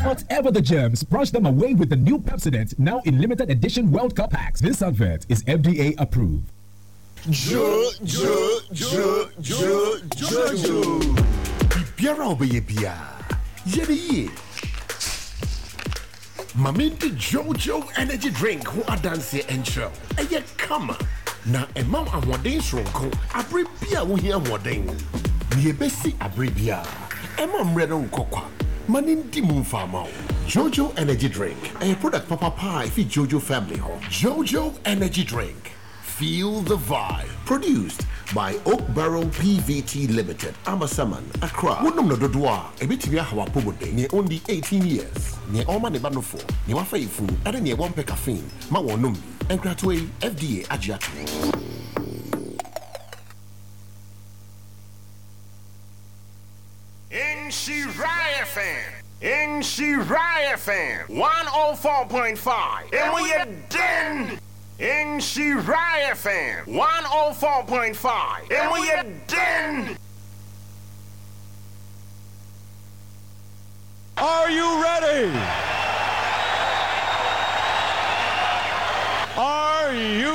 Whatever the germs, brush them away with the new Pepsodent now in limited edition World Cup packs. This advert is FDA approved. Jo jo jo jo jojo. Biribiara a wobɛyɛ biara, yɛ no yie. Ma mendi Jojo Energy Drink ho adanseɛ nkyerɛ wo. Ɛyɛ kama, na ɛma wo ahoɔden soronko abere bi a wohia ahoɔden. Nea ɛbɛsi abere biara, ɛma mmerɛ no nkɔ kwa. Ma no ndi mu mfa mma wo. Jojo Energy Drink, ɛyɛ product papapa a ɛfi Jojo family hɔ. Jojo Energy Drink. Feel the vibe. Produced by Oak Barrel PVT Limited, Amasaman, Accra. Wonom no dodoɔ a, ɛbɛtumi aha w'apɔmuden. Nea ɔndi 18 years, nea ɔrema ne ba nofoɔ, nea wafa yafunu, ɛne nea wɔmpɛ caffeine ma wɔnnom bi. Nkratoɔ yi, FDA agye atom. Nhyira FM, Nhyira FM 104.5, emu yɛ den! Nhyira FM 104.5, emu yɛ den! Are you ready? Are you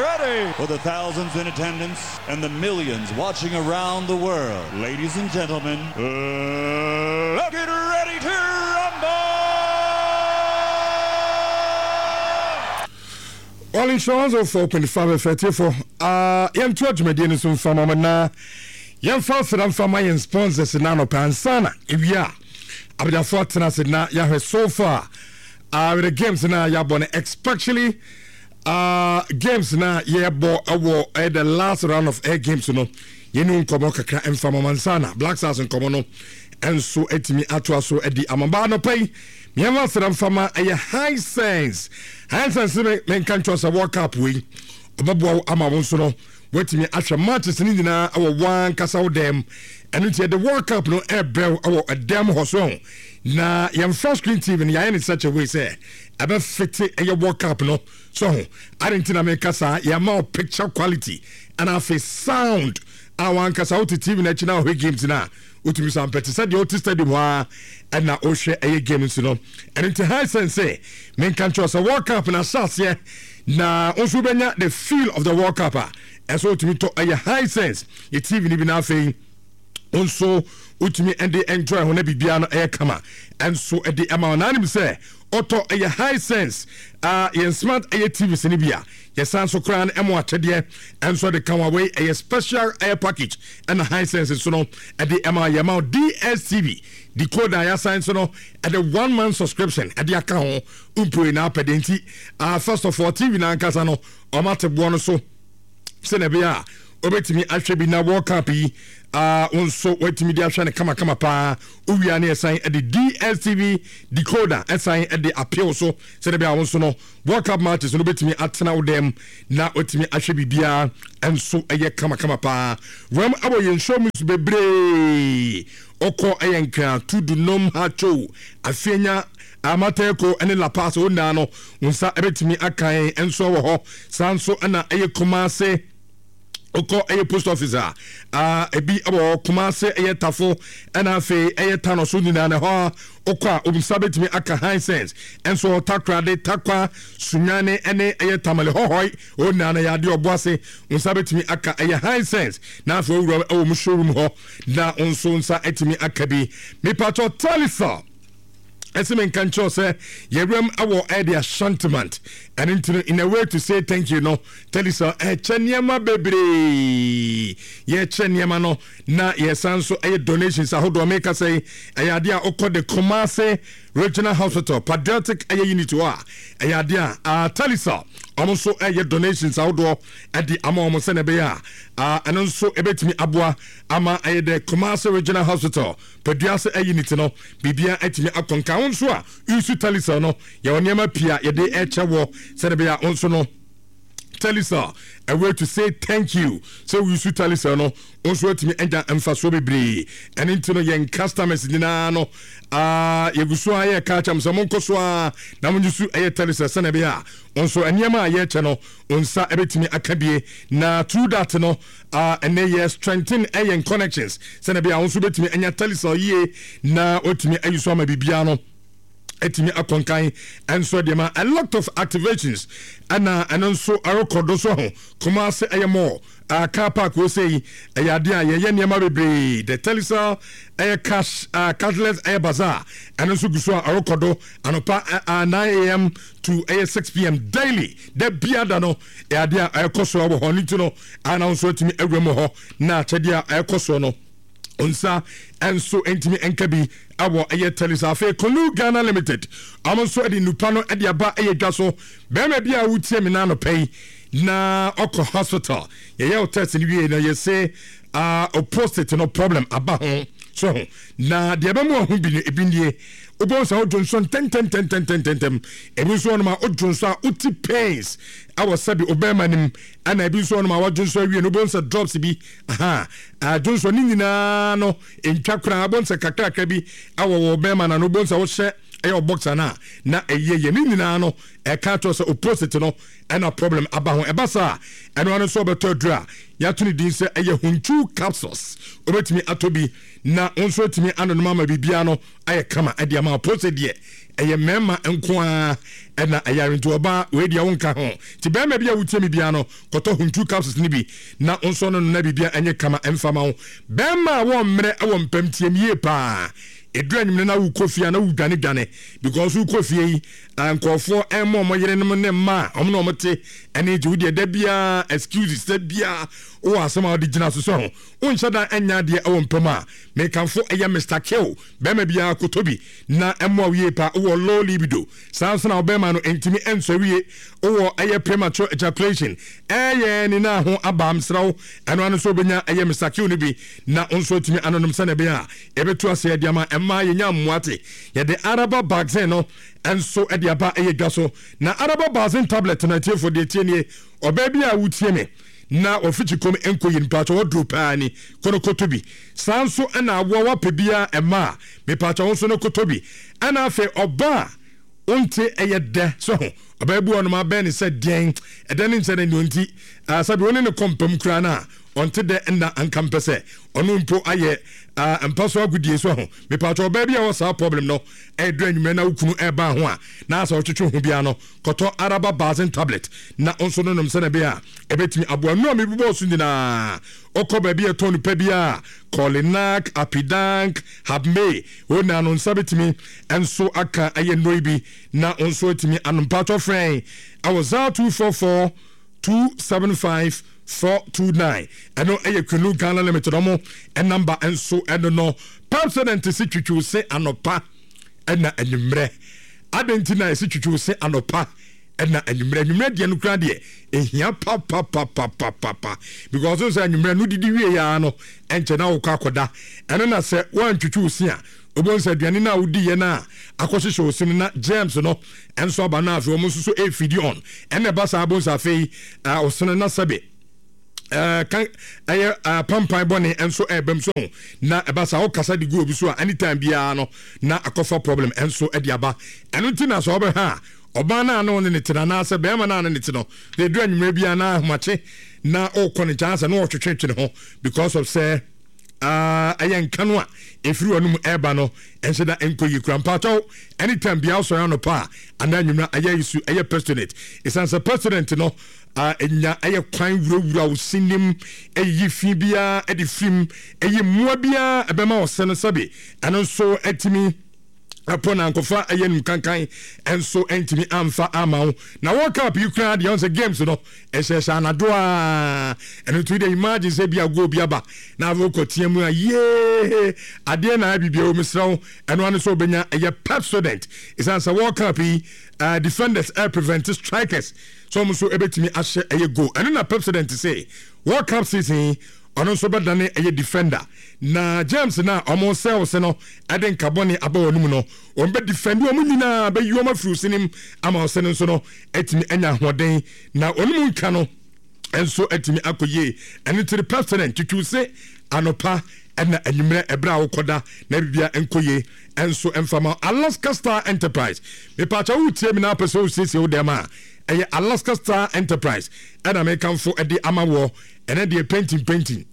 ready? For the thousands in attendance and the millions watching around the world, ladies and gentlemen, let's get ready to rumble! All Insurance 104.5 FM tiefo ah yɛnto adwumadie no so mfa ma mo na yɛmfa aseda mfa ma yɛn sponsors na anɔpɛ ansa na ewie a abadwafoɔ atena ase na yɛahwɛ so far uh, with the games na yɛabɔ no especially uh, games na yɛbɔ ɛwɔ uh, the last round of air games no yɛne nkɔmmɔ kakra mfa ma mansa na Black Stars nkɔmmɔ no nso atumi atoa so adi amabaa anɔpa yi Mmiɛnma aseda mfa ma ɛyɛ Hisense. Hisense me menka nkyɛw sɛ World Cup wei ɔbɛboa wo ama wo nso no woatumi ahwɛ matches no nyinaa wɔ wankasa wo dɛm. Ɛno nti yɛde World Cup no ɛbrɛ wo wɔ ɛdɛm hɔ so ɛho. Na yɛn flat screen TV no yɛayɛ no such a way sɛ ɛbɛfete ɛyɛ World Cup no so ho. Ade nti na meka saa, yɛama wo picture quality ɛna afei sound a wankasa wote TV no akyi na wohwɛ games no a Wotumi san pɛ te sɛ deɛ wote stadium hɔ ara ɛna wohwɛ ɛyɛ game nso no. Ɛno nti Hisense sɛ menka nkyerɛ sɛ World Cup na ahyɛ aseɛ na wo nso wobɛnya the feel of the World Cup a ɛsɛ wotumi tɔ ɛyɛ Hisense yɛ TV no bi na afei wo nso wotumi ɛde enjoy ho na biribiara no ɛyɛ kama ɛnso ɛde ɛma wo na anim sɛ ɔtɔ ɛyɛ Hisense uh, yɛn smart ɛyɛ TVs no bi a Yɛsan so koraa no ɛmo akyɛdeɛ nso de ka ho a wei ɛyɛ special air package ɛna Hisense nso no ɛde ɛma yɛma wo DSTV decoder a yɛasan nso no ɛde one month subscription ɛde aka ho mpoe na apɛ de nti uh, first of all TV na ankasa no ɔma te boɔ no so sɛnea ɛbɛyɛ a wobɛtumi ahwɛ bi na World Cup yi uh, wo nso woatumi de ahwɛ no kamakama paa wowia ne ɛsan ɛde DSTV decoder ɛsan ɛde apew so sɛnea ɛbɛyɛ a wo nso no World Cup matches no wobɛtumi atena wo dɛm na watumi ahwɛ biribiara nso ɛyɛ kamakama paa. Wɛm awɔ yɛn show mu bebree. Ɔkɔ ɛyɛ Nkran, Tudu, Nom, Ha, Chow, Afienya, Amateko ne La Paz wɔn nyinaa no wo nsa ɛbɛtumi akan nso wɔ hɔ. Saa nso ɛna ɛyɛ Kumase. Wokɔ ɛyɛ post office a, ah, ebi wɔ hɔ Kumase ɛyɛ Tafo ɛna afei ɛyɛ Tano so nyinaa na ɛhɔ a wokɔ a nsa bɛtumi aka Hisense nso hɔ Takoradi, Tarkwa, Sunyani ɛne ɛyɛ Tamale Hɔhɔi hɔ nyinaa na yɛ adeɛ Ɔboase nsa bɛtumi aka ɛyɛ Hisense na afei owura ɛwɔ mu showroom hɔ na nso nsa atumi aka bi. Mipatɔ Talisal ɛsɛ me nka nkyerɛ sɛ yɛwuram wɔ ɛde Ashantimant ɛno nti no in a way to say thank you no Telecel ɛkyɛ nneɛma bebree yɛkyɛ nneɛma no na yɛsan nso ɛyɛ donations ahodoɔ meka sɛ yi ɛyɛ adeɛ a wokɔ de Kumasi Regional Hospital Patriotic ɛyɛ unit hɔ a ɛyɛ adeɛ a Telecel wɔn nso ɛyɛ donations ahodoɔ ɛde ama wɔn sɛnea ɛbɛyɛ a ɛno nso ɛbɛtumi aboa ama ɛyɛ de Kumasi Regional Hospital Padua sɛ ayi ne ti no, biribiara atumi akɔ nka. Wo nso a woresu Telecel no, yɛwɔ nneɛma pii a yɛde rekyɛ wɔ sɛdeɛ ɛbɛyɛ a wo nso no. Telecel, a way to say thank you. Sɛ wo use Telecel no, wo nso atumi anya mfasoɔ bebree. Ɛno nti no yɛn customers nyinaa no, ah, yɛgu so a yɛka akyɛm sɛ monkɔ so a na mo use ɛyɛ Telecel sɛnea ɛbɛyɛ a wo nso nneɛma a yɛkyɛ no, wo nsa ɛbɛtumi aka bie. Na through that no, ah, ɛnɛ yɛ strengthen ɛyɛn connections sɛnea ɛbɛyɛ a wo nso bɛtumi anya Telecel yie na watumi ayi so ama biribiara no atumi akɔ nkan nso deɛ ma a lot of activations ɛna ɛno nso ɛrekɔ do so ho. Kumasi ɛyɛ mall uh, car park wɔ sɛ yi ɛyɛ adeɛ a yɛyɛ nneɛma bebree. The Telecel ɛyɛ cash uh, cashless ɛyɛ bazaar, ɛno nso gu so a ɛrekɔ do anɔpa uh, 9 am to ɛyɛ 6 pm daily, da biada no ɛyɛ adeɛ a ɛrekɔ so wɔ hɔ no. Nti no ana nso atumi awura mu hɔ na akyɛdeɛ a ɛrekɔ soɔ no nsa nso ntumi nka bi ɛwɔ ɛyɛ telis. Afei Konu Ghana Limited, ɔmo nso de nnupa no de aba ɛyɛ dwa so. Bɛrima bi a wotie me n'anɔpɛ yi na ɔkɔ hospital, yɛyɛ wo test no wie na yɛse uh, prostate no problem aba ho so ho, na deɛ ɛbɛmu ahu bi no ebi nie: wobɛhu sɛ wodwo nso ntɛntɛntɛntɛntɛntɛm, ebi nso wɔnom a wodwo nso a wote pains ɛwɔ sɛbi obɛrima no mu, ɛna ebi nso wɔnom a wadwo nso awie no wobɛhu sɛ drops bi aha adwo nso ne nyinaa no ntwa koraa, wobɛhu sɛ kakrakra bi ɛwɔ wɔ bɛrima no ano, wobɛhu sɛ wohyɛ ɛyɛ ɔboxer no a na ɛyɛ yɛ ne nyinaa no ɛka kyerɛ sɛ opposite no ɛna problem aba ho. Ɛba saa ɛno ano nso ɔbɛtɔ aduru a yɛato ne din sɛ ɛyɛ Hunchu capsules, wobɛtumi atɔ bi na wo nso atumi anonom ama biribiara no ayɛ kama ɛde ama opposite deɛ. Ɛyɛ mmarima nko ara ɛna ɛyare, nti ɔbaa wei deɛ wonka ho. Nti bɛrima bi a wotie me biara no, kɔtɔ Huntu capsules no bi na wo nso no no na biribia ɛnyɛ kama ɛmfa ma wo. Bɛrima a wɔmmerɛ ɛwɔ mpam, tie me yie paa. Ɛduru anwummerɛ na wokɔ fie a na wodwane dwane because wokɔ fie yi nkurɔfoɔ ɛmmɔ ɔmo yerenom ne mma a ɔmo na ɔmo te ɛne gye wo deɛ da biara excuses, da biara wowɔ asɛm a wode gyina so sɛ ho wonhyɛ da ɛnyɛ adeɛ ɛwɔ mpam a, mekamfo ɛyɛ Mr Kill. Bɛrima biara kɔtɔ bi na ɛmmoa wo yie paa. Wowɔ low libido, saa nso na wo bɛrima no ntumi nsɔre yie, wowɔ ɛyɛ premature ejaculation, ɛyɛ ne nan ho aba, mesrɛ wo ɛno ano nso wobɛnya ɛyɛ Mister Q no bi na wo nso atumi anonom sɛdeɛ ɛbɛyɛ a ɛbɛtu aseɛ de ama mmaa yɛnya mmoa te. Yɛde Araba Vaccine no nso de aba ɛyɛ dwa so, na Araba Vaccine tablet no, atiefoɔ deɛ tie nie, ɔbaa bi a wotie me na wafikyi kɔm nkɔ yie, mpakyɛ waduro paa ni, kɔ no kɔtɔ bi. Saa nso na awoa wapɛ biara ɛma a, mepaakyɛ wo nso no kɔtɔ bi. Ɛna afei ɔba a wonte ɛyɛ dɛ sɛ ho ɔbaa bi wɔ nom abɛn ne sɛ deɛn ɛdɛ ne nkyɛn ne nti sɛbi wo ne ne kɔ mpam koraa no a ɔnte dɛ nna anka mpɛ sɛ ɔno mpo ayɛ mpa so agodie so ho. Mepaakyɛ ɔbaa bi a wɔ saa problem no, ɛdɔ anwummerɛ na wo kunu ɛba ho a na asɛ ɔtwetwe ho biara no, kɔtɔ Araba Basin tablet na wo nso no nom sɛnea ɛbɛyɛ a ɛbɛtumi aboa. Nnuro a mebobɔɔ so nyinaa, wokɔ baabi a ɛtɔn nnupa biara, Kolinak, Apidank, Habmay, hɔ nyinaa no nsa bɛtumi nso aka ɛyɛ nnuro yi bi na wo nso atumi anom. Mpaatɔ frɛn ɛwɔ 0244 275 429. Ɛno ɛyɛ Kunu Ghana Limited ɔmo namba nso ɛno no. Pepsodent se twitwiw se anɔpa ɛna anwummerɛ. Adɛn nti na yɛse twitwiw se anɔpa ɛna anwummerɛ? Anwummerɛ deɛ no koraa deɛ ɛhia papapapapapa because sɛ anwummerɛ no didi wie yaa no ɛnkyɛ na wokɔ akɔda. Ɛno na sɛ woantwitwi wo se a, wobɛhu sɛ aduane no a wodiiɛ no a akɔhyehyɛ wo se no na germs no ɛnso aba no, afei wɔn nso so ɛfidi on ɛna ɛba saa, wobɛhu sɛ afei ɔsene na sɛbe kan ɛyɛ pampan bɔne nso ɛbɛm so ho, na ɛba saa wokasa de gu obi so a, anytime biara no na akɔfa problem nso de aba. Ɛno nti na sɛ wobɛhwɛ a, ɔbaa no a ne wo ne ne te no anaasɛ bɛrima no a ne ne te no na ɛduru anwummerɛ biara na ahomakye na ɔrekɔ ne nkyɛn asɛ na ɔtwetwetwe ne ho because of sɛ ɛyɛ nka no a ɛfiri wɔn mu ɛreba no ɛnhyɛ da nkɔ yie kura. Mpakyɛw, anytime biara wosɔre anɔpa a anaa anwummerɛ ɛyɛ isu ɛyɛ pestinate, ɛsiane sɛ pestinate no ɛnya ɛyɛ kwan wurawura wo sinim, ɛyiyi fi biara ɛde firim, ɛyi mmoa biara ɛbɛma ɔsɛ no sɛbe ɛno nso ɛtumi ɛpɔ na nkɔfa ɛyɛ num kankan ɛnso ɛntumi amfa ama wo. Na World Cup yi koraa deɛ, ɔn sɛ games no ɛhyɛhyɛ anadwo a, ɛno nti deɛ imagine sɛ bi a goal bi aba na afei wokɔ tea mu a, yee adeɛ na ayɛ biribi ɛwɔ mesrɛ wo, ɛno ano sɛ wobɛnya ɛyɛ Pepsodent, ɛsiane sɛ World Cup yi defenders ɛ prevent strikers sɛ wɔn nso ɛbɛtumi ahyɛ ɛyɛ goal. Ɛno na Pepsodent sɛ World Cup season yi ɔno nso bɛdane ɛyɛ defender na James na ɔmo cells no ɛde nkabɔne aba wɔn mu no, wɔn bɛ defend wɔn nyinaa, bɛyi wɔn afiri osinim ama ɔsɛ no nso no atumi anya ahoɔden na wɔn mu nka no. nso atumi akɔ yie. Ɛno nti no Pepsodent twitwiw se anɔpa ɛna anwummerɛ ɛberɛ a wokɔda na bibia nkɔ yie nso mfa ma. Alaska Star Enterprise, mepaakyɛ woretie me na apɛ sɛ wosiesie wo dɛm a, ɛyɛ Alaska Star Enterprise ɛna mekamfo ɛde ama woɔ. Ɛnɛ deɛ painting painting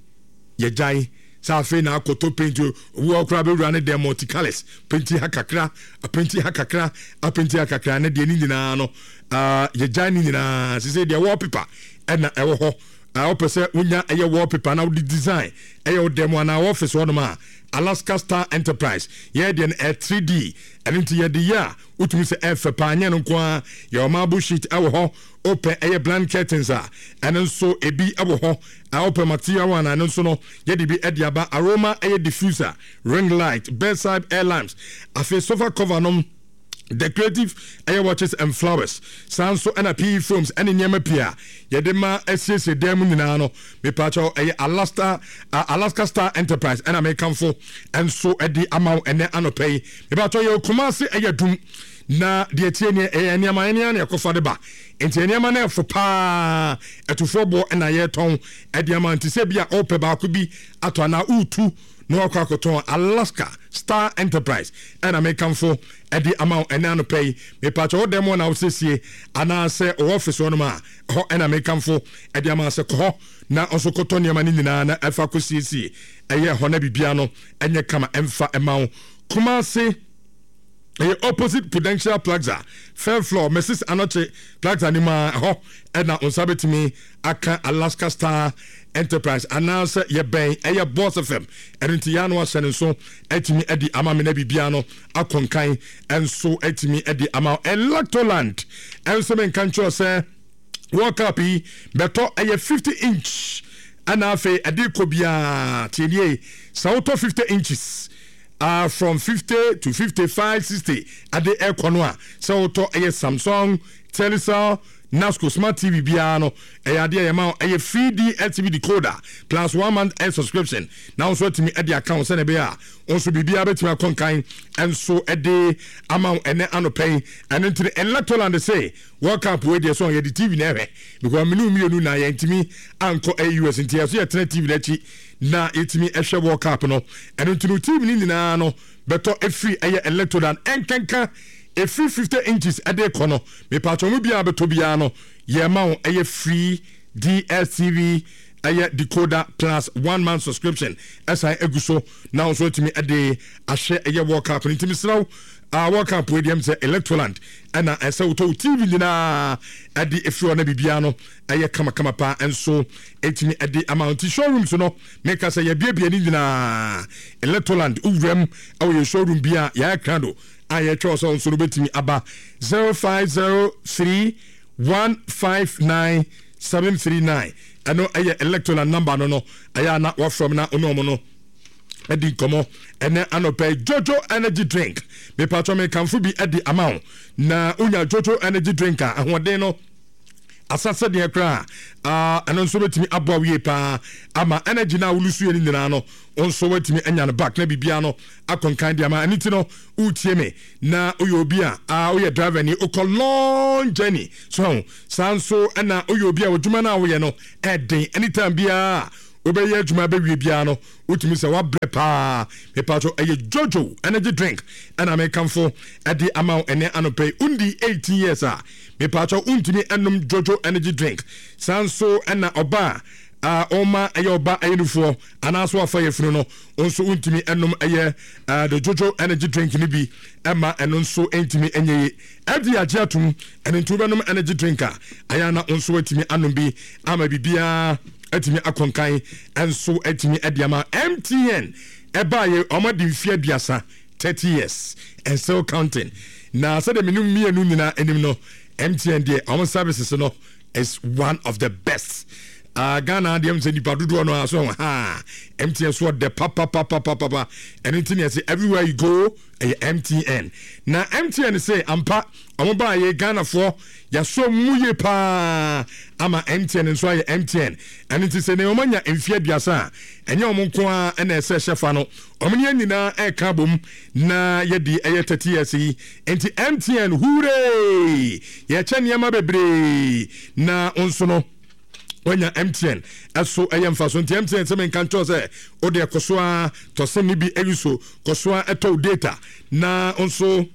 yɛgyae sɛ afei na akɔtɔ paint. Obi wɔ koraa bɛwura ne dɛm multicolours, painti ha kakra, apenti ha kakra, apenti ha kakra. Ne deɛ ne nyinaa no yɛgyae ne nyinaa. Sɛ deɛ wallpaper ɛna ɛwɔ hɔ, wopɛ sɛ wonya ɛyɛ wallpaper na wode design ɛyɛ wo dɛm anaa office hɔnom a, Alaska Star Enterprise yɛyɛ deɛ no ɛyɛ 3D. Ɛno nti yɛde yɛ a wotumi sɛ ɛfɛ paa. Nyɛ no nko ara, yɛwɔ marble sheet ɛwɔ hɔ. Wopɛ ɛyɛ blind curtains a, ɛno nso ebi ɛwɔ hɔ. Wopɛ material one a, ɛno nso no yɛde bi ɛde aba. Aroma ɛyɛ diffuser, ring light, bedside air lamps, afei sofa cover nom, decorative ɛyɛ watches and flowers, saa nso ɛna PE foams ɛne nneɛma pii a yɛde ma asiesie dan mu nyinaa no. Mepaakyɛw, ɛyɛ Alaska, Alaska Star Enterprise ɛna mekamfo ɛnso ɛde ama wo ɛnɛ anɔpa yi. Mepaakyɛw, yɛ Kumase ɛyɛ dum na deɛ tie neɛ ɛyɛ nneɛma ɛne ana ɛkɔfa de ba, nti nneɛma no ɛfo paa, ɛtofoɔ boɔ ɛna yɛtɔn ɛde ama. Nti sɛ bi a ɔpɛ baako bi atɔ anaa wotu na wakɔ akɔtɔn, Alaska Star Enterprise ɛna mekamfo ɛde ama wo ɛnɛ anɔpa yi. Mepaakyɛw, wo dɛm na wosiesie anaasɛ ɔwɔ office hɔnom a, ɛhɔ ɛna mekamfo ɛde ama sɛ kɔ hɔ na ɔnso kɔtɔ nneɛma no nyinaa na ɛfa kɔsiesie ɛyɛ hɔ na biribiara no ɛnyɛ kama ɛmfa ɛma wo. Kumase ɛyɛ opposite Prudential Plaza, third floor, Mrs Anokye Plaza no mu a, ɛhɔ ɛna wo nsa bɛtumi aka Alaska Star Enterprise anaasɛ yɛbɛn ɛyɛ Boss FM. Ɛno nti yɛa no ahyɛ no nso atumi adi ama me na biribiara no akɔnkan nso atumi adi ama. Electoland ɛnso menka nkyerɛ sɛ World Cup yi bɛtɔ ɛyɛ 50 inch ɛna afei ɛde kɔ biara. Tie nie, sɛ wotɔ 50 inches from 50 to 55, 60 ɛde ɛkɔ no a, sɛ wotɔ ɛyɛ Samsung, Telecel, Nasco smart TV biara no, ɛyɛ adeɛ yɛma ɛyɛ free DSTV decoder plus one month air subscription na wo nso atumi ɛde aka wo sɛnea ɛbɛyɛ a wo nso biribiara bɛtumi akɔ nkan nso ɛde ama wo ɛnɛ anɔpɛ yi. Ɛno nti no Electoland se World Cup wei deɛ so yɛde TV na ɛhwɛ because mene mmienu na yɛntumi ankɔ ɛyɛ US, nti yɛso yɛtena TV no akyi na yɛtumi ɛhwɛ World Cup no. Ɛno nti no TV no nyinaa no bɛtɔ ɛfiri ɛyɛ Electoland ɛnkanka ɛfiri 50 inches ɛde kɔ no. Mepatwɔ mu biara bɛtɔ biara no, yɛma wo ɛyɛ free DSTV ɛyɛ decoder plus one month subscription ɛsan egu so na nso atumi ɛde ahwɛ ɛyɛ World Cup no. Nti mesrɛ wo, World Cup wei deɛ m sɛ Electroland ɛna ɛsɛ wotɔ wo TV nyinaa ɛde efiri hɔ na biribiara no ɛyɛ kamakama paa nso ɛtumi ɛde ama. Nti showrooms no meka sɛ yɛbiebie ne nyinaa. Electroland wowuram ɛwɔ yɛ showroom bi a yɛayɛ krado a yɛtwɛ sɛ nso no bɛtumi aba. 0503 159 739, ɛno ɛyɛ Electroland number no. Ɛyɛ a na wafrɛ m na ɔne ɔmo no ɛdi nkɔmɔ ɛnɛ anɔpɛ. Jojo energy drink, mepatwɔ mekamfo bi ɛde ama wo na wonya Jojo energy drink a, ahoɔden no asasɛdeɛ koraa, ɛno nso bɛtumi aboa wo yie paa ama energy no a wolusuiɛ no nyinaa no wo nso woatumi anya no back na biribiara no akɔnkan de ama. Ɛno ti no wotie me na woyɛ obi a woyɛ driver ni, wokɔ long journey so ho, saa nso ɛna woyɛ obi a w'adwuma no a woyɛ no ɛden, anytime biara wobɛyɛ adwuma bɛwie biara no wotumi sɛ wabrɛ paa, mepatwo ɛyɛ Jojo energy drink ɛna mekamfo ɛde ama wo ɛnɛ anɔpɛ yi. Wondi 18 years a, mepatwo wontumi ɛnom Jojo energy drink. Saa nso ɛna ɔba a ɔma ɛyɛ ɔba ɛyɛ nufoɔ anaasɛ wafa yɛ funu no nso wontumi ɛnom ɛyɛ the Jojo energy drink no bi ɛma ɛno nso ɛntumi ɛnyɛ ye. Ɛde agye atom, ɛno nti wobɛnom energy drink a, ayɛ na wo nso watumi anom bi ama biribiara atumi akɔnkan nso atumi adi ama. MTN ɛbaayɛ wɔn adi mfeɛ 30, 30 years and still counting. Na sɛdeɛ mene mmienu nyinaa anim no, MTN deɛ wɔn services no is one of the best. Ghana deɛ sɛ nipa dodoɔ no a so ha MTN so ɔdɛ papapapapapa. Ɛno nti ne ɛsɛ everywhere you go ɛyɛ MTN. Na MTN sɛ ampa ɔmo baayɛ Ghanafoɔ yɛasɔ mu yie paa ama MTN nso ayɛ MTN. Ɛno nti sɛ ne ɔmo anya mfeɛ 30 a, ɛnyɛ ɔmo nko ara ɛna ɛsɛ hyɛ fa no, ɔmo ne yɛn nyinaa ɛreka abom na yɛdi ɛyɛ 30 years yi. Nti MTN hooray, yɛkyɛ nneɛma bebree na nso no. Wanya MTN ɛso ɛyɛ mfaso nti MTN sɛ menka nkyɛw sɛ wode ɛkɔ so ara tɔ sim no bi ayi so kɔ so ara ɛtɔ wo data na nso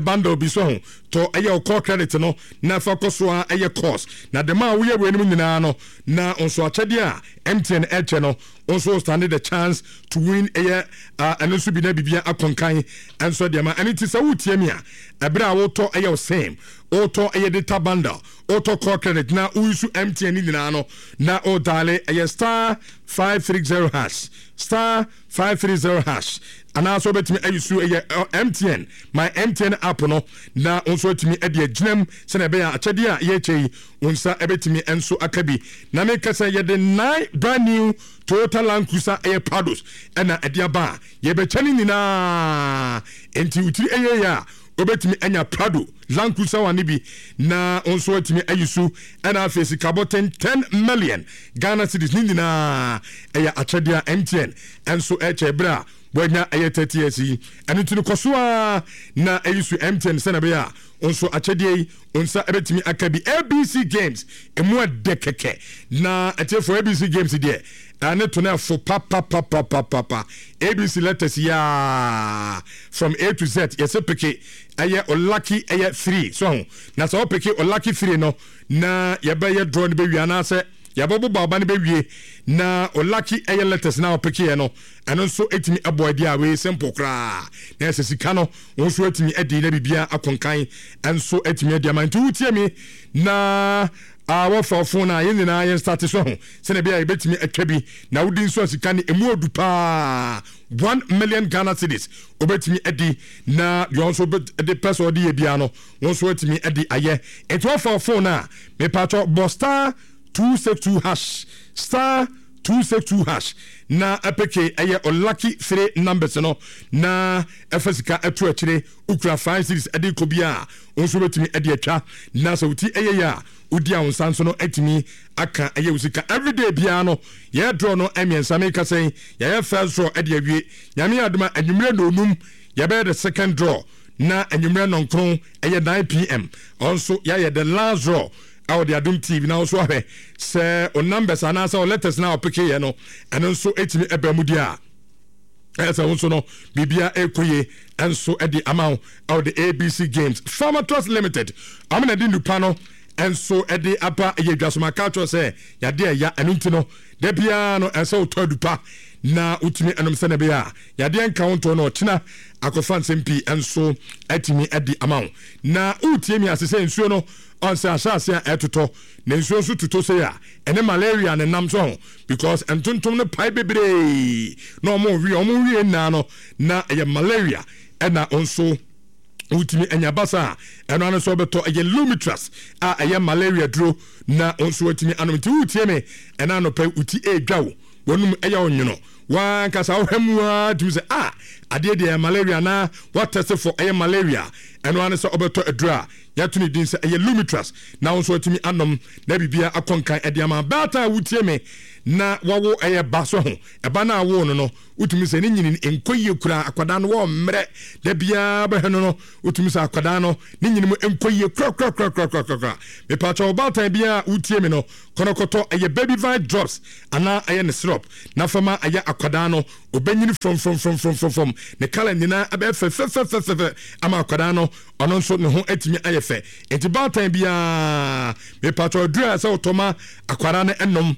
bundle bi so ho tɔ ɛyɛ wo call credit no na fa kɔ so ara ɛyɛ course na dɛm a woyɛ wei no mu nyinaa no na nso akyɛdeɛ a MTN ɛkyɛ no nso stand the chance to win ɛyɛ ɛno nso bi na bibia akɔnkan ɛnso deɛ ma ɛno nti sɛ wotie mi a ɛberɛ a wotɔ ɛyɛ wo sim wotɔ ɛyɛ data bundle Wotɔ call credit na wo use MTN ne nyinaa no na wo diale ɛyɛ star 530 hash star 530 hash anaasɛ wobɛtumi ayi so ɛyɛ MTN my MTN app no na wo nso atumi de agyinam sɛnea ɛbɛyɛ akyɛdeɛ a yɛkyɛ yi wo nsa ɛbɛtumi nso aka bi na meka sɛ yɛde nine brand new Toyota Land Cruiser ɛyɛ Prados ɛna ɛde aba a yɛbɛkyɛ no nyinaa enti wotiri ɛyɛ yɛ a Wobɛtumi anya Prado Land Cruiser one no bi na wo nso atumi ayi su ɛna afei sikabɔten 10 million Ghana cedis ne nyinaa ɛyɛ akyɛdeɛ a MTN nso ɛkyɛ berɛ a wɔanya ɛyɛ 30 years yi. Ɛno nti no kɔ so ara na ɛyi su MTN sɛnea ɛbɛyɛ a wo nso akyɛdeɛ yi wo nsa ɛbɛtumi aka bi. ABC Games ɛmu ɛdɛ kɛkɛ na atiefoɔ ABC Games deɛ ɛne to no ɛfo papapapapapa ABC letters yaa from A to Z yɛsɛ peke ɛyɛ o lucky ɛyɛ 3 so ho na sɛ wopeke o lucky 3 no na yɛbɛyɛ draw no bɛwie anaasɛ yɛbɛbobɔ aba no bɛwie na o lucky ɛyɛ letters na wopeke yɛ no ɛno nso ɛtumi ɛbɔ adi a wei simple koraa na ɛsɛ sika no wo nso atumi adi na biribia akonkan ɛnso atumi adi ama nti wotie mi na a wɔfa phone a yɛn nyinaa yɛn start so ho sɛnea ɛbɛyɛ a yɛbɛtumi atwa bi na wodi nso a sika no ɛmu odu paa 1 million Ghana cedis wobɛtumi adi na deɛ nso de pɛ sɛ ɔde yɛ biara no wɔn nso atumi adi ayɛ nti wɔfa phone a mepatwɔ bɔ star 262 hash star 262 hash na ɛpeke ɛyɛ o lucky three numbers no na ɛfa sika ɛto akyire wokura 5 cedis ɛde kɔ bi a wɔn nso bɛtumi ɛde atwa na sɛ woti ɛyɛ yɛ a wodi a wo nsa nso no atumi aka ɛyɛ wo sika everyday biara no yɛ draw no mmiɛnsa meka sɛn yɛyɛ first draw ɛde awie nyame adoma anwummerɛ nonum yɛbɛyɛ the second draw na anwummerɛ nɔnkron ɛyɛ 9pm ɔnso yɛayɛ the last draw ɛwɔ de adom tv na nso ahwɛ sɛ o numbers anaasɛ o letters na ɔpeke yɛ no ɛno nso ɛtumi ɛbɛn mu deɛ a ɛyɛ sɛ wo nso no biribia ɛkɔ yie nso de ama wo ɛwɔ de abc games farmer trust limited ɔmo na de nnupa no nso de aba ɛyɛ dwasoma ka kyerɛ sɛ yadeɛ ɛya ɛno nti no da biara no ɛsɛ wotɔ adupa na wotumi ɛnom sɛ na ɛbɛyɛ a yadeɛ nka wo ntɔ no ɔkyena akɔfa nsɛm pii nso atumi adi ama wo na wotie mi ase sɛ nsuo no ɔnsɛ ahyɛ ase a ɛtotɔ na nsuo nso totɔ sei a ɛne malaria ne nam so ho because ntontom no pae bebree na ɔmo wie ɔmo wie nyinaa no na ɛyɛ malaria ɛna nso wotumi anya basa a ɛno ano nso ɔbɛtɔ ɛyɛ lumitras a ɛyɛ malaria duro na nso watumi anom nti wotie me ɛna anɔpɛ woti ɛredwa wo wɔnum ɛyɛ ɔnwono wankasa wohwɛ mu a tumi sɛ a adeɛ deɛ ɛyɛ malaria na watɛse fo ɛyɛ malaria ɛno ano sɛ ɔbɛtɔ aduro a yɛato ne din sɛ ɛyɛ lumitras na wo nso atumi anom na biribiara akɔ nkan ɛde ama baatan a wotie me na wawo ɛyɛ ba so ho ɛba no a woo no no wotumi sɛ ne nyini nkɔ yie koraa akwadaa no wɔ mmerɛ da biara bɛhwɛ no no wotumi sɛ akwadaa no ne nyini mu nkɔ yie korakorakorakorakorakora mepaakyɛ ɔbaatan biara a wotie me no kɔnɔkɔtɔ ɛyɛ baby vine drops anaa ɛyɛ ne syrup na fama ɛyɛ akwadaa no ɔbɛnyini frɔmfrɔmfrɔmfrɔmfrɔm ne kala nyinaa ɛbɛyɛ fɛfɛfɛfɛfɛ ama akwadaa no ɔno nso ne ho atumi ayɛ fɛ nti baatan biara mepatɔ aduru a sɛ wotɔ ma akwadaa no ɛnom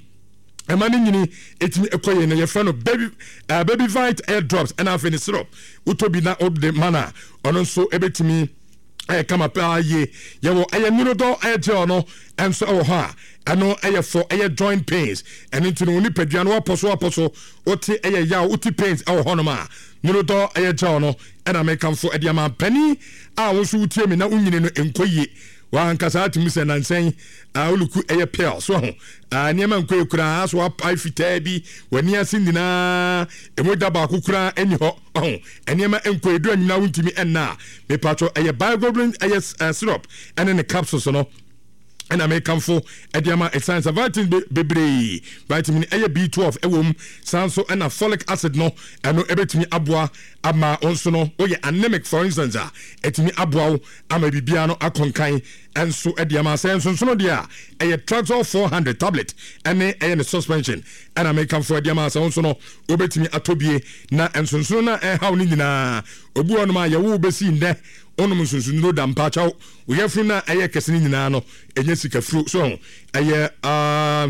ɛma ne nyini ɛtumi ɛkɔ yie no yɛfrɛ no baby uh, baby vite air drops ɛna afei ne syrup wotɔ bi na wode ma no a ɔno nso ɛbɛtumi ɛyɛ kama paa yie yɛwɔ ɛyɛ nnuro ɛyɛ gel no ɛnso ɛwɔ hɔ a ɛno ɛyɛ fɔ ɛyɛ joint pains ɛno nti no wo nipadua no wapɔ so wapɔ so wote ɛyɛ yaw wote pains ɛwɔ hɔnom a nnuro ɛyɛ gel no ɛna mekamfo ɛde ama panin a wo nso wotie me na wonyini no nkɔ yie wankasa atumi sɛ nansɛn a oluku ɛyɛ pale so ho a nneɛma nkɔ yie koraa so apae fitaa bi w'ani ase nyinaa emu da baako koraa ɛni hɔ ɔho nneɛma nkɔ yie du anyina wontumi ɛnna a mepatwɔ ɛyɛ bioglobulin ɛyɛ syrup ɛne ne capsules no ɛna mekamfo ɛde ama ɛsan sɛ vitamin bebree vitamin ɛyɛ B12 ɛwɔ mu san so ɛna folic acid no ɛno ɛbɛtumi aboa ama wo nso no woyɛ anemic for instance a ɛtumi aboa wo ama biribiara no akɔnkan. nso de ama. Sɛ nsonsono deɛ a, ɛyɛ Traxol 400 tablet ɛne ɛyɛ ne suspension ɛna mekamfo de ama. Sɛ wo nso no wobɛtumi atɔ bie na nsonsono no a ɛhaw no nyinaa. Obi wɔ nom a yɛwo bɛsi nnɛ wonom nsonsonnuro da mpaakyɛw wo yafunu no a ɛyɛ kɛse no nyinaa no ɛnyɛ sikafuro so ho ɛyɛ uh,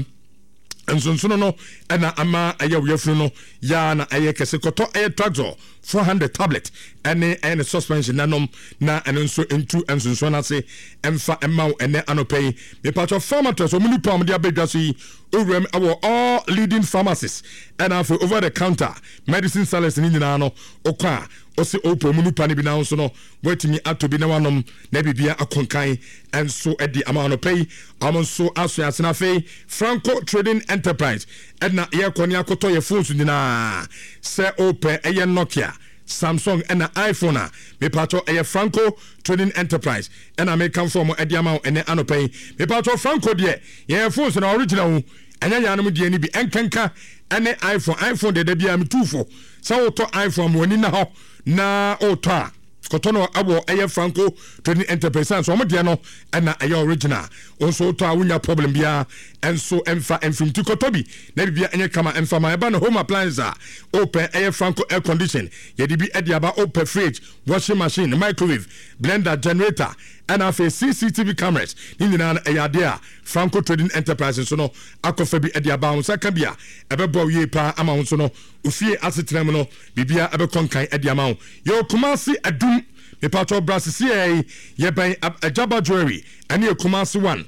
nsonsono no ɛna ama ɛyɛ wo yafunu no yaa na ɛyɛ kɛse. Kɔtɔ ɛyɛ Traxol 400 tablet ɛne ɛyɛ ne suspension na nom na ɛno nso ntu nsonsono no ase ɛmfa ɛma wo ɛnɛ anɔpɛ yi. Mepatwɔ Pharmatress wɔn nipa a wɔde abɛdwa so yi owuram ɛwɔ all leading pharmacies ɛna afei over the counter medicine sellers ne nyinaa no okɔ a ɔsɛ ɔpɔ mu nipa no bi na nso no watumi atɔ bi na wanom na biribia akonkan nso de ama anɔpɛ yi. Wɔn nso aso ase. Na afei Franco Trading Enterprise ɛna yɛkɔ ne akɔtɔ yɛ phones nyinaa. Sɛ ɔpɛ ɛyɛ Nokia, Samsung ɛna iPhone a, mepatɔ ɛyɛ Franco Trading Enterprise ɛna mekamfo wɔn ɛde ama wo ɛnɛ anɔpɛ yi. Mepatɔ Franco deɛ yɛyɛ phones na original wo ɛnyɛ yɛn anom deɛ no bi ɛnkanka ɛne iPhone. iPhone deɛ da biara metu fo sɛ wotɔ iPhone ma w'ani na hɔ na wotɔ a kɔtɔ no ɛwɔ ɛyɛ Franco Trading Enterprise san so wɔn deɛ no ɛna ɛyɛ original. Wɔn nso wotɔ a wonya problem biara ɛnso ɛnfa ɛnfim ti kɔtɔ bi na bibia ɛnyɛ kama ɛnfa ma. Ɛba no home appliance a wopɛ ɛyɛ Franco air condition yɛde bi ɛde aba. Wopɛ fridge, washing machine, microwave, blender, generator ɛna afei CCTV cameras ne nyinaa no ɛyɛ adeɛ a Franco Trading Enterprise nso no akɔfa bi ɛde aba. Wɔn nsa ka bi a ɛbɛboa wo yie paa ama wɔn nso no ofie asetena mu no biribiara ɛbɛkɔ nkan ɛde ama wo. Yɛwɔ Kumasi Adum, mepatɔ bra sisiɛ yi, yɛbɛn Agyaba Jewelry ɛne yɛ Kumasi one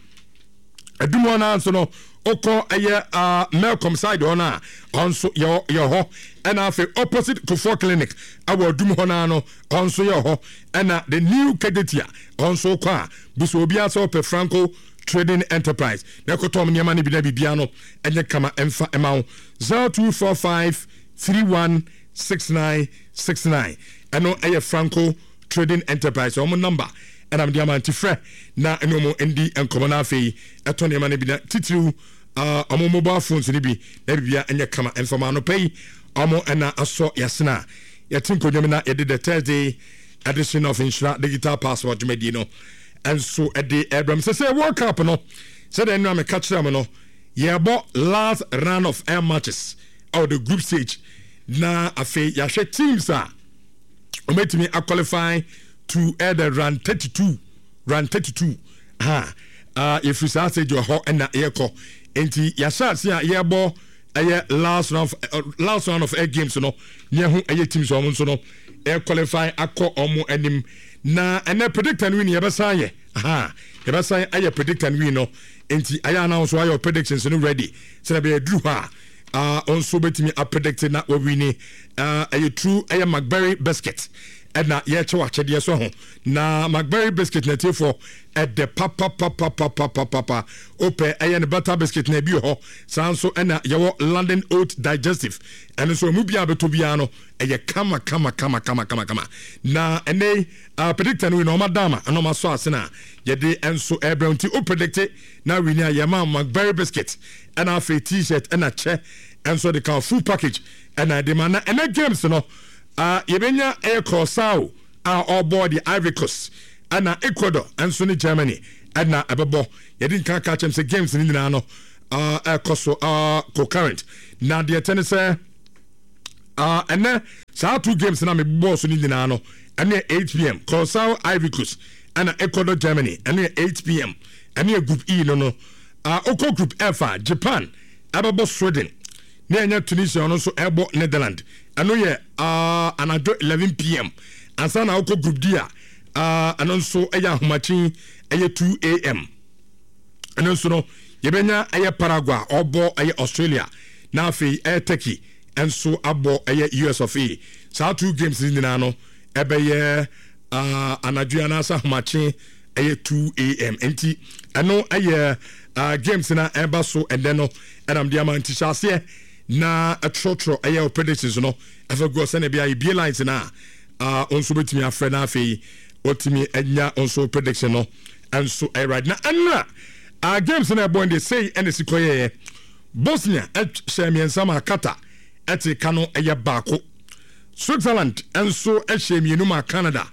Adum hɔ naa nso no okɔ ɛyɛ uh, Melcom side hɔ no a ɔno nso yɛ yɛ hɔ ɛna afei opposite Kofoɔ Clinic ɛwɔ Adum hɔ naa no ɔno nso yɛ hɔ ɛna the new Kejetia ɔno nso kɔ a buso obiara sɛ ɔpɛ Franco Trading Enterprise na ɛkɔtɔ nneɛma no bi na biribiara no ɛnyɛ kama ɛmfa ɛma wo. 0245 316969 ɛno ɛyɛ Franco Trading Enterprise wɔn number ɛna mede ama nti frɛ na ɛne wɔn ndi nkɔmɔ. Na afei ɛtɔ nneɛma no bi na titiriw wɔn mobile phones no bi na biribiara ɛnyɛ kama ɛmfa ma. Anɔpa yi wɔn ɛna asɔ yasena a yɛte nkonnwa mu na yɛde the Thursday edition of Nhyira Digital Passport dwumadie no nso ɛde ɛbrɛm sɛ sɛ World Cup no sɛdeɛ nnura meka kyerɛ mo no yɛbɔ last round of air matches ɛwɔ the group stage na afei yɛahwɛ teams a wɔbɛtumi aqualify to air the round 32, round 32 ha. Yɛfiri saa stage wɔ hɔ ɛna yɛkɔ nti yɛahyɛ ase a yɛbɔ ɛyɛ last round of air games no ne ɛho ɛyɛ teams a wɔn nso no air qualify akɔ wɔn anim. Na ɛnɛ predict and win yɛbɛsan yɛ ha, yɛbɛsan ayɛ predict and win no nti ayɛ ana nso ayɛ predictions no ready sɛdeɛ bɛyɛ duru hɔ a nso bɛtumi apredict na wawini. Ɛyɛ true ɛyɛ McBerry biscuit ɛna yɛkyɛw akyɛdeɛ so ho na McBerry biscuit na tiefoɔ ɛdɛ papapapapapapa. Wopɛ ɛyɛ ne butter biscuit na ebi wɔ hɔ saa nso ɛna yɛwɔ London Oat Digestive ɛno nso emu biara bɛtɔ biara no ɛyɛ kama kama kama kama kama kama. Na ɛnɛ predictor no wi na ɔma dama ɛna ɔma sɔ ase na yɛde nso ɛbrɛ nti o predict na wini a yɛma McBerry biscuit ɛna afei t-shirt ɛna kyɛ ɛnso de ka full package ɛna ɛde ma. Na ɛnɛ games no yɛbɛnya ɛyɛ Curacao a ɔrebɔ de Ivory Coast ɛna Ecuador nso ne Germany ɛna ɛbɛbɔ. Yɛde nka ka kyɛm sɛ games no nyinaa no ɛkɔ so concurrent na deɛ ɛtɛ ne sɛ ɛnɛ saa two games na mebɔɔ so no nyinaa no ɛno yɛ 8 pm, Curacao Ivory Coast ɛna Ecuador Germany, ɛno yɛ 8 pm, ɛno yɛ group E no. Okɔ group F a, Japan ɛbɛbɔ Sweden ne ɛnyɛ Tunisia ɔno nso ɛbɔ Netherland, ɛno yɛ anadwo 11 pm. Ansa na wokɔ group D a, ɛno nso ɛyɛ ahomakyen ɛyɛ 2 am, ɛno nso no yɛbɛnya ɛyɛ Paraguay ɔbɔ ɛyɛ Australia na afei ɛyɛ Turkey ɛnso abɔ ɛyɛ US of A. Saa two games no nyinaa no ɛbɛyɛ anadwo anaasɛ ahomakye ɛyɛ 2 am nti ɛno ɛyɛ games na ɛba so ɛnɛ no ɛnam de ama nti hyɛ aseɛ na ɛtwerɛtwerɛ ɛyɛ predictions no ɛfɛ guɔ sɛnea bi a ebie lines na a nso bɛtumi afrɛ na afei wɔtumi anya nso prediction no nso ɛyɛ right. Na ɛnna games na ɛbɔ deɛ sei ɛna si kɔyɛɛ Bosnia ɛhyɛ mmiɛnsa ma Qatar ɛte ka no ɛyɛ baako. Switzerland nso ɛhyɛ mmienu ma Canada,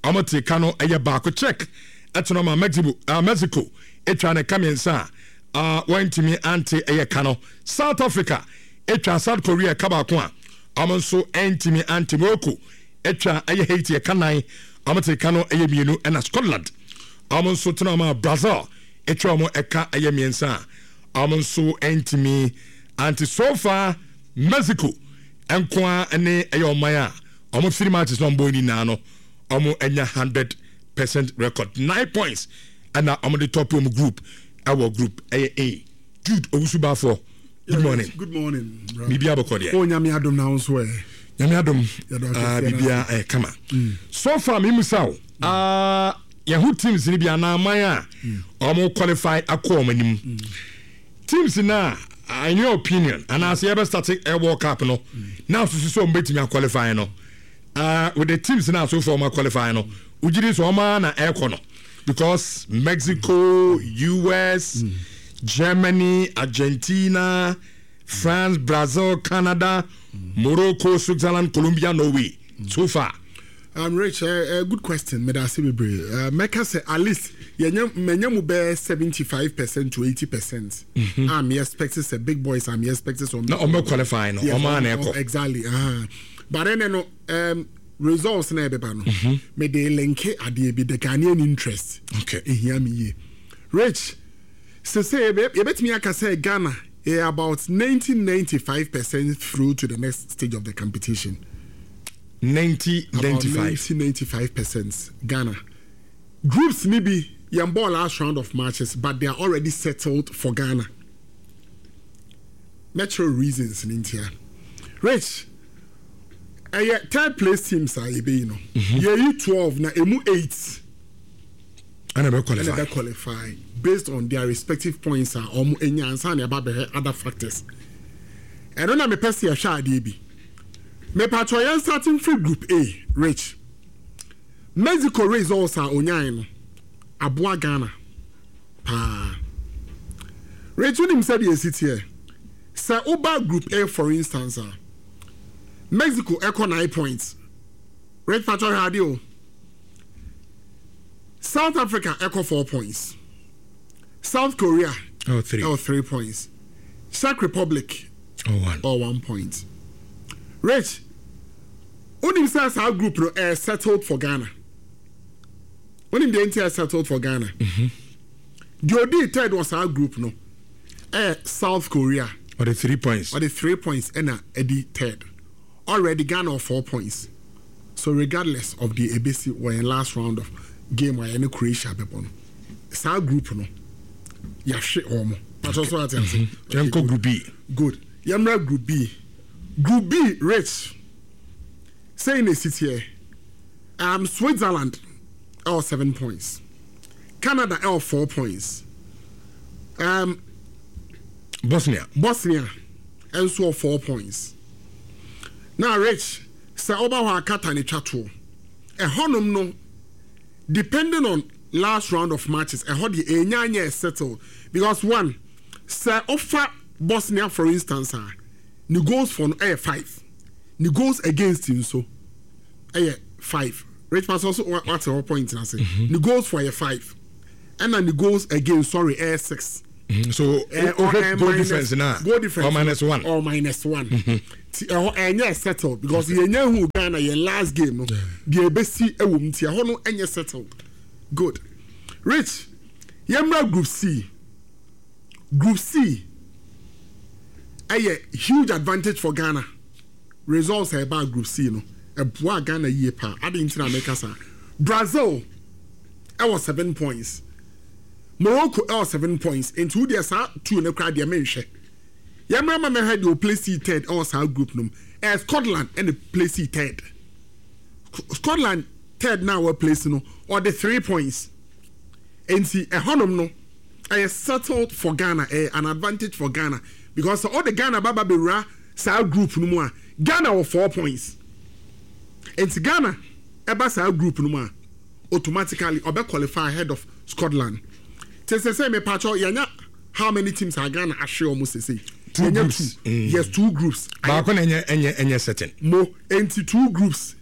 wɔn te ka no ɛyɛ baako. Czech ɛtena ma Mexico, uh, Mexico atwa ne ka mmiɛnsa a uh, wɔntumi ante ɛyɛ ka no. South Africa atwa South Korea ka baako a wɔn nso ntumi ante. Morocco atwa ɛyɛ Haiti ɛka nan, wɔn te ka no ɛyɛ mmienu ɛna Scotland wɔn nso tena ma Brazil atwa wɔn ɛka ɛyɛ mmiɛnsa a wɔn nso ntumi ante. So far Mexico nko ara ne ɛyɛ ɔman a wɔn three matches na wɔn bɔ nyinaa no wɔn anya 100% record 9 points ɛna wɔn de top wɔn group ɛwɔ group ɛyɛ A. Jude Owusu Bafo, good morning. Good morning. Biribi abɔkɔ deɛ. O Nyame adom na nso ɛ. Nyame adom. Biribi a kama. So far mi musa o. Yɛn ho teams ni bi anaa aman a wɔn qualify akɔ wɔn anim. Teams na in your opinion anaasɛ yɛbɛ start World Cup no na asusu sɛ wɔn bɛtumi aqualify no, with the teams na so far wɔn qualify no, wogye di sɛ wɔn ara na ɛrekɔ no? Because Mexico, US, Germany, Argentina, France, Brazil, Canada, Morocco, Switzerland, Colombia, Norway so far. Rich, good question. Medase bebree. Mɛka sɛ at least yɛnyɛ mɛnyɛ mu bɛyɛ 75% to 80%. I'm expecting sɛ big boys. I'm expecting sɛ na ɔmo qualify no, ɔmo ana ɛkɔ. Exactly. But then no results na ɛbɛba no. Me de link adeɛ bi, the Ghanaian interest. Ehia me yie. Rich, sese yɛbɛtumi aka sɛ Ghana yɛ about 90-95% through to the next stage of the competition. 90 About 95. 90-95% Ghana. Groups ni bi yɛn ball last round of matches, but they are already settled for Ghana. Natural reasons ni ntia. Rich, ɛyɛ third place teams a yɛbɛyi no. Yɛyi 12 na emu 8 ɛna bɛ ɛna qualify. Bɛ qualify based on their respective points a wɔn anya ansa na ɛba bɛhwɛ other factors. Ɛno na mepɛ sɛ yɛhwɛ adeɛ bi. Mepatwɔ yɛn starting firi group A, Rich. Mexico results a onyae no aboa Ghana paa. Rich, wonim sɛdeɛ esi teɛ. Sɛ woba group A, for instance, a Mexico ɛkɔ 9 points. Rich, patwɔ hwɛ adeɛ o. South Africa ɛkɔ 4 points. South Korea Oh, three. ɛwɔ 3 points. Czech Republic Oh, one. or 1 point. Rich, wonim sɛ saa group no ɛyɛ settled for Ghana. Wonim deɛ nti ɛyɛ settled for Ghana? Deɛ odi third wɔ saa group no ɛyɛ South Korea. Ɔde 3 points. Ɔde 3 points ɛna ɛdi third. Already Ghana wɔ 4 points. So regardless of the ebesi wɔ yɛn last round of game a yɛne Croatia bɛbɔ no, saa group no yɛahwe wɔn. Patro so ate ase. Yɛnkɔ group B. Good. Yɛmmra group B. Group B, Rich, sɛyi na esi teɛ. Switzerland ɛwɔ 7 points. Canada ɛwɔ 4 points. Bosnia. Bosnia nso wɔ 4 points. Na Rich, sɛ ɔba hɔ a Qatar ne twa toɔ. Ɛhɔnom no, depending on last round of matches, ɛhɔ deɛ enya nyɛ settle because one, sɛ ɔfa Bosnia for instance a, ne goals for no ɛyɛ 5, ne goals against nso ɛyɛ 5. Rich Pastor nso wate hɔ point na se ne goals for ɛyɛ 5 ɛna ne goals against, sorry, ɛyɛ 6. So o goal difference na goal difference or minus one. Or minus one. Ti ɛhɔ ɛnyɛ settled because yɛn nyɛ hu Ghana yɛn last game no deɛ ebesi ɛwɔ mu, ti ɛhɔ no ɛnyɛ settled. Good. Rich, yɛn mra group C. Group C ɛyɛ huge advantage for Ghana. Results a ɛbaa group C no ɛboa Ghana yie paa. Adi nti na mɛka saa, Brazil ɛwɔ 7 points, Morocco ɛwɔ 7 points, nti wo deɛ saa two ne koraa deɛ menhwɛ. Yɛmmerɛ ma mɛhwɛ deɛ o place third ɛwɔ saa group no mu. Ɛyɛ Scotland ɛna place third. Scotland third na wɔ place no, ɔde 3 points, nti ɛhɔnom no ɛyɛ settled for Ghana. Ɛyɛ an advantage for Ghana because sɛ ɔde Ghana baba bɛwura saa group no mu a, Ghana wɔ 4 points, nti Ghana ɛba saa group no mu a, automatically ɔbɛ qualify ahead of Scotland. Te sɛ mepatwɔ yɛnya how many teams a Ghana ahwe ɔmo sese? Two Yɛnya groups. two. Yes, two groups. Baako na ɛnyɛ certain. Mo nti two groups,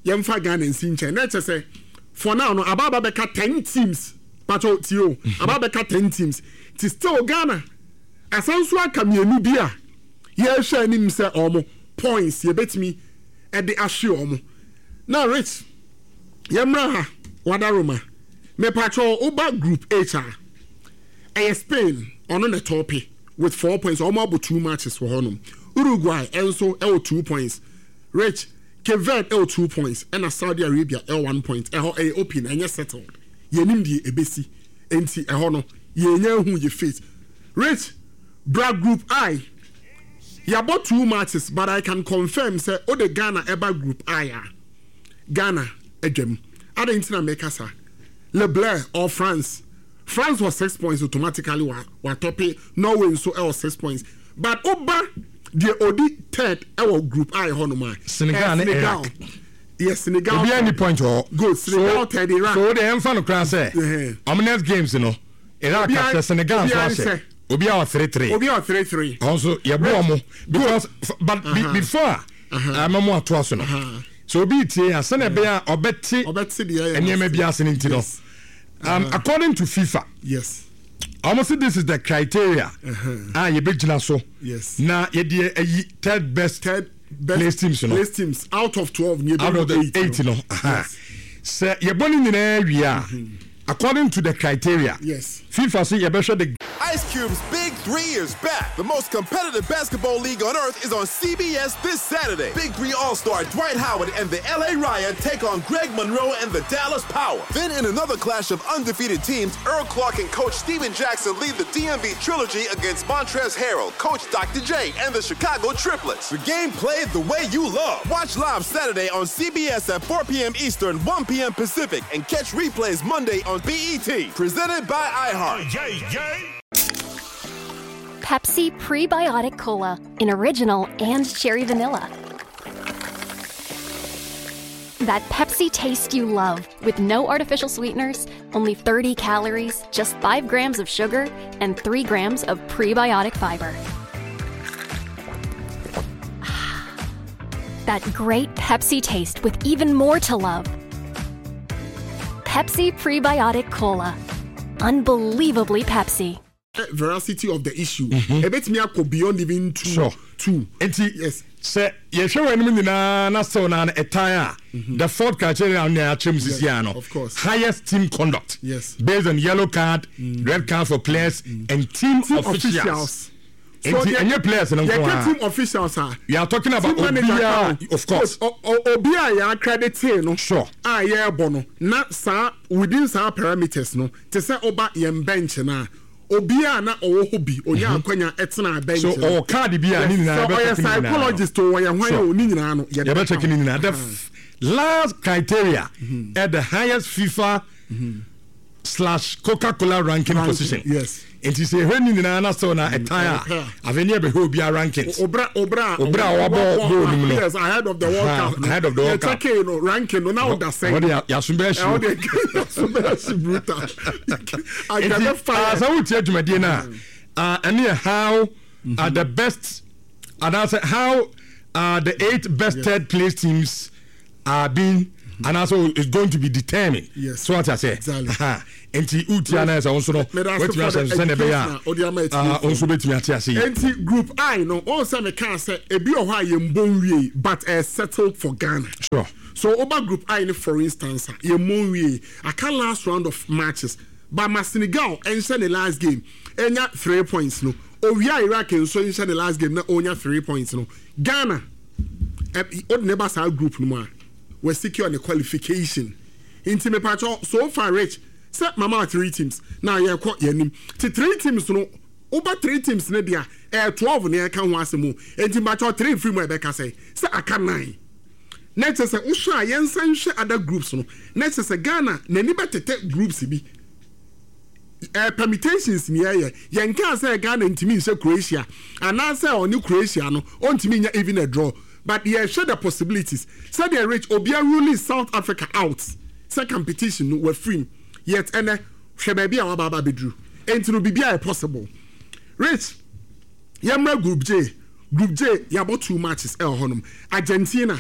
yɛmfa Ghana nsi nkyɛn na ɛkyɛ sɛ for now no abaaba bɛka 10 teams. Pacho tie o, aba abɛka 10 teams. Nti still Ghana asan nso aka mmienu bi a yɛrehwɛ anim sɛ wɔn points yɛbɛtumi de ahwe wɔn. Na Rich, yɛmmra ha, Wadaroma. Mepacho woba group H a, ɛyɛ Spain, ɔno na ɛtɔɔpe with 4 points. Wɔn abɔ 2 matches wɔ hɔnom. Uruguay nso ɛwɔ 2 points. Rich, Cape Verde ɛwɔ 2 points ɛna Saudi Arabia ɛwɔ 1 point. Ɛhɔ ɛyɛ open, ɛnyɛ settled. Yɛnim deɛ ɛbɛsi. Enti ɛhɔ no, yɛnya ahu yɛ fate. Rich, bra group I. Yɛabɔ 2 matches but I can confirm sɛ wode Ghana ɛba group I a, Ghana adwam. Adɛn nti na meka saa? Le Bleu or France. France wɔ 6 points automatically wa watɔpe. Norway nso ɛwɔ 6 points. But woba deɛ odi third ɛwɔ group I hɔnom a, Senegal ne Senegal. Iraq. Yes, Senegal. Obiara ni point wɔ hɔ. Good. Senegal so, third, Iraq. So wode ɛmfa no koraa sɛ ɔmo next games no Iraq ahyɛ Senegal nso ahyɛ. Obiara wɔ 3-3. Obiara wɔ 3-3. Ɔno nso yɛbɔ ɔmo because but before a ama mo atoa so no so obi tie a sɛnea ɛbɛyɛ a ɔbɛte nneɛma bi ase no nti no according to FIFA yes ɔmo se this is the criteria a yɛbɛgyina so na yɛde ayi third best place teams no place teams out of 12 out of the 8 no sɛ yɛbɔ ne nyinaa wie a according to the criteria yes FIFA se yɛbɛhwɛ the Ice Cube's Big 3 is back. The most competitive basketball league on earth is on CBS this Saturday. Big 3 All-Star Dwight Howard and the LA Riot take on Greg Monroe and the Dallas Power. Then in another clash of undefeated teams, Earl Clark and Coach Steven Jackson lead the DMV Trilogy against Montrezl Harrell, Coach Dr. J, and the Chicago Triplets. The game played the way you love. Watch live Saturday on CBS at 4 p.m. Eastern, 1 p.m. Pacific, and catch replays Monday on BET. Presented by iHeart. Pepsi Prebiotic Cola in original and cherry vanilla. That Pepsi taste you love with no artificial sweeteners, only 30 calories, just 5 grams of sugar, and 3 grams of prebiotic fiber. That great Pepsi taste with even more to love. Pepsi Prebiotic Cola. Unbelievably Pepsi. Veracity of the issue. Ebetumi akɔ beyond even 2. Sure. 2. Nti yes. Sɛ yɛhwɛ wɔn anim nyinaa na still na ɛtan a, the fourth criteria na yɛakyerɛ mu sisi ano. Of course. Highest team conduct. Yes. Based on yellow card, red card for players and team officials. Nti ɛnyɛ players no nko yɛka ara. team officials a. We are talking about team manager obiara, ka ho. of course. Obi a yɛ accredit no. Sure. A yɛrebɔ no na saa within saa parameters no te sɛ ɔba yɛn bench na obi a na ɔwɔ hɔ bi onya akwanya ɛtena bench So no. ɔwɔ card bi a ne nyinaa Sɛ yɛbɛ ɔyɛ check ne nyinaa no. psychologist o ɔyɛ hwan Sure. o ne nyinaa no yɛde Yɛbɛ check ne nyinaa. The last criteria at the highest FIFA slash Coca-Cola ranking position. Yes. Nti sɛ ɛhwɛ ne nyinaa na sɛ na ɛtan a afei ne yɛbɛhwɛ obiara rankings. Obra obra Obra a wabɔ goal no mu no. Yes, ahead of the World Aha, Cup. no. ahead of the World Yɛ Cup. check no ranking no na ɔda sɛn. Wɔde yaso bɛɛ Ɛwɔ hyew. de yaso bɛɛ hye brutal. Nti Akɛbɛ fire. sɛ wotie dwumadie no a ɛne yɛ how the best anaasɛ how the 8 best third place teams are being anaasɛ is going to be determined. Yes. So what I say. Exactly. Aha. Nti wotia no sɛ wo nso no Meda ase woatumi for ahyɛ the nso sɛnea ɛbɛyɛ education a wode ama a atiefoɔ. wo nso wobɛtumi ate ase yie. Enti group I no wɔn sɛ meka sɛ ebi wɔ hɔ a yɛn bɔ nwie but ɛyɛ settled for Ghana. Sure. So oba group I no for instance a yɛn bɔ nwie aka last round of matches but ma Senegal ɛnhyɛ ne last game enya 3 points no owia Iraq nso nhyɛ ne last game na onya 3 points no Ghana ɔde ne ba saa group no mu a wɔ secure ne qualification nti mepatwɔ so far Rich sɛ mama 3 teams na yɛkɔ yɛn ti 3 teams no woba 3 teams ne deɛ ɛyɛ 12 na yɛka ho asɛm o nti mepatwɔ 3 firi mu a ɛbɛka sɛ aka 9 na kyerɛ sɛ wohwɛ a yɛnsa nhwɛ other groups no na kyerɛ sɛ Ghana n'ani bɛtetɛ groups bi permutations ni yɛyɛ yɛnka sɛ Ghana ntumi nhyɛ Croatia anaasɛ ɔne Croatia no ɔntumi nya even a draw but yɛhwɛ the possibilities sɛdeɛ Rich obia ruling South Africa out sɛ competition no wafirim yet ɛnɛ hwɛ baabi a waba aba abɛduru enti no biribi ayɛ possible. Rich, yɛmmra group J. Group J yɛabɔ 2 matches ɛwɔ hɔnom. Argentina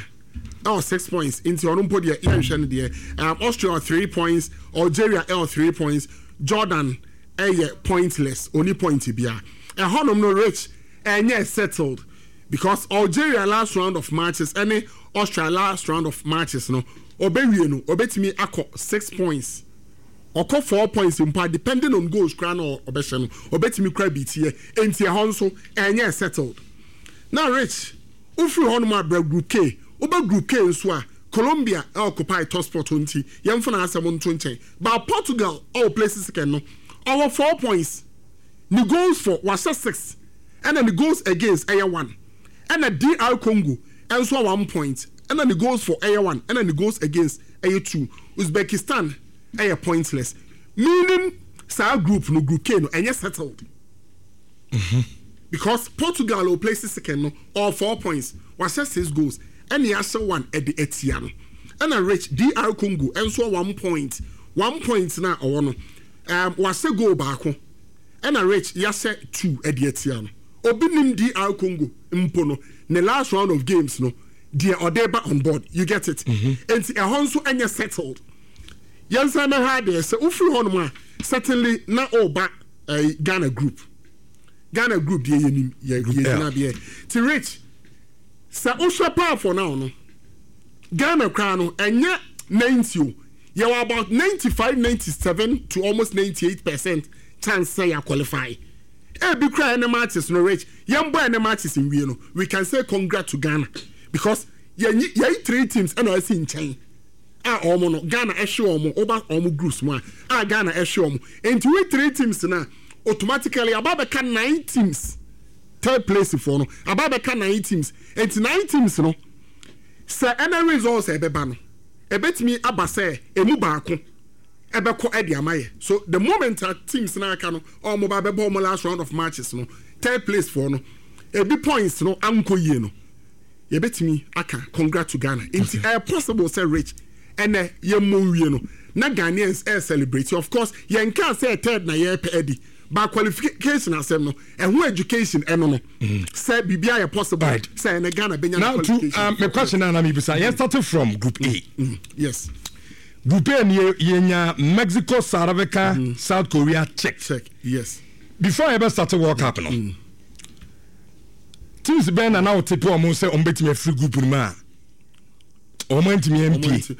ɛwɔ 6 points nti ɔno mpo deɛ yɛnhwɛ no deɛ. Austria 3 points, Algeria ɛwɔ 3 points, Jordan ɛyɛ pointless, ɔni point biara. Ɛhɔnom no Rich ɛnyɛ settled because Algeria last round of matches ɛne Austria last round of matches no ɔbɛwie no ɔbɛtumi akɔ 6 points. Ɔkɔ 4 points mpo a depending on goals koraa na ɔbɛhyɛ no ɔbɛtumi koraa beat yɛ. Enti ɛhɔ nso ɛnyɛ settled. Na Rich wofiri hɔnom a bra Group K. Woba Group K nso a Colombia occupy top spot hɔ nti yɛmfa n'asɛm nto nkyɛn. But Portugal a ɔplace second no ɔwɔ 4 points. Ne goals for wahyɛ 6 ɛna ne goals against ɛyɛ 1. Ɛna DR Congo nso a 1 point ɛna ne goals for ɛyɛ 1 ɛna ne goals against ɛyɛ 2. Uzbekistan ɛyɛ pointless. Meaning saa group no Group K no ɛnyɛ settled. Because Portugal a ɔplace second no ɔwɔ 4 points, wahyɛ 6 goals ɛna yɛahyɛ 1 ɛde atia no. Ɛna Rich DR Congo nso wɔ 1 point, 1 point no a ɔwɔ no wahyɛ goal baako ɛna Rich yɛahyɛ 2 ɛde atia no. Obi nim DR Congo mpo no ne last round of games no deɛ ɔde ba on board, you get it? Enti ɛhɔ nso ɛnyɛ settled. Yɛnsan mɛhwɛ adeɛ sɛ wofiri hɔnom a certainly na ɔreba ɛyi Ghana group. Ghana group deɛ yɛnim yɛ yɛgyina deɛ. Ti Rich sɛ wohwɛ paa for now no Ghana koraa no ɛnyɛ 90 o yɛwɔ about 95 97 to almost 98% chance sɛ yɛ qualify. Ebi koraa ɛne matches no Rich yɛn bɔ ɛne matches nwie no we can say congrats to Ghana because yɛnyi yɛyi three teams ɛna ɛsi nkyɛn a wɔn no Ghana ɛhwe wɔn woba wɔn groups mu a a Ghana ɛhwe wɔn nti we three teams na automatically aba abɛka nine teams third place foɔ no aba abɛka nine teams nti nine teams no sɛ ɛna results a ɛbɛba no ɛbɛtumi aba sɛ emu baako ɛbɛkɔ ɛde ama yɛ so the moment a teams na aka no wɔn ba bɛbɔ wɔn last round of matches no third place foɔ no ebi points no ankɔ yie no yɛbɛtumi aka congrats to Ghana nti ɛyɛ possible sɛ Rich ɛnɛ yɛmmɔ nwie no na Ghanaians ɛyɛ celebrate of course yɛn kaa sɛ third na yɛrepɛ adi but qualification asɛm no ɛho education ɛno no sɛ biribi ayɛ possible sɛ ɛnɛ Ghana bɛnya Now to qualification. my question now, na mm. started from Group A. Yes. Group A ni yɛnya Mexico, South Africa, South Korea, Czech. Czech, yes. Before I ever started World Cup no, teams bɛn na na wote pe ɔmo sɛ ɔmo bɛtumi afiri group no mu a ɔmo antumi ampie.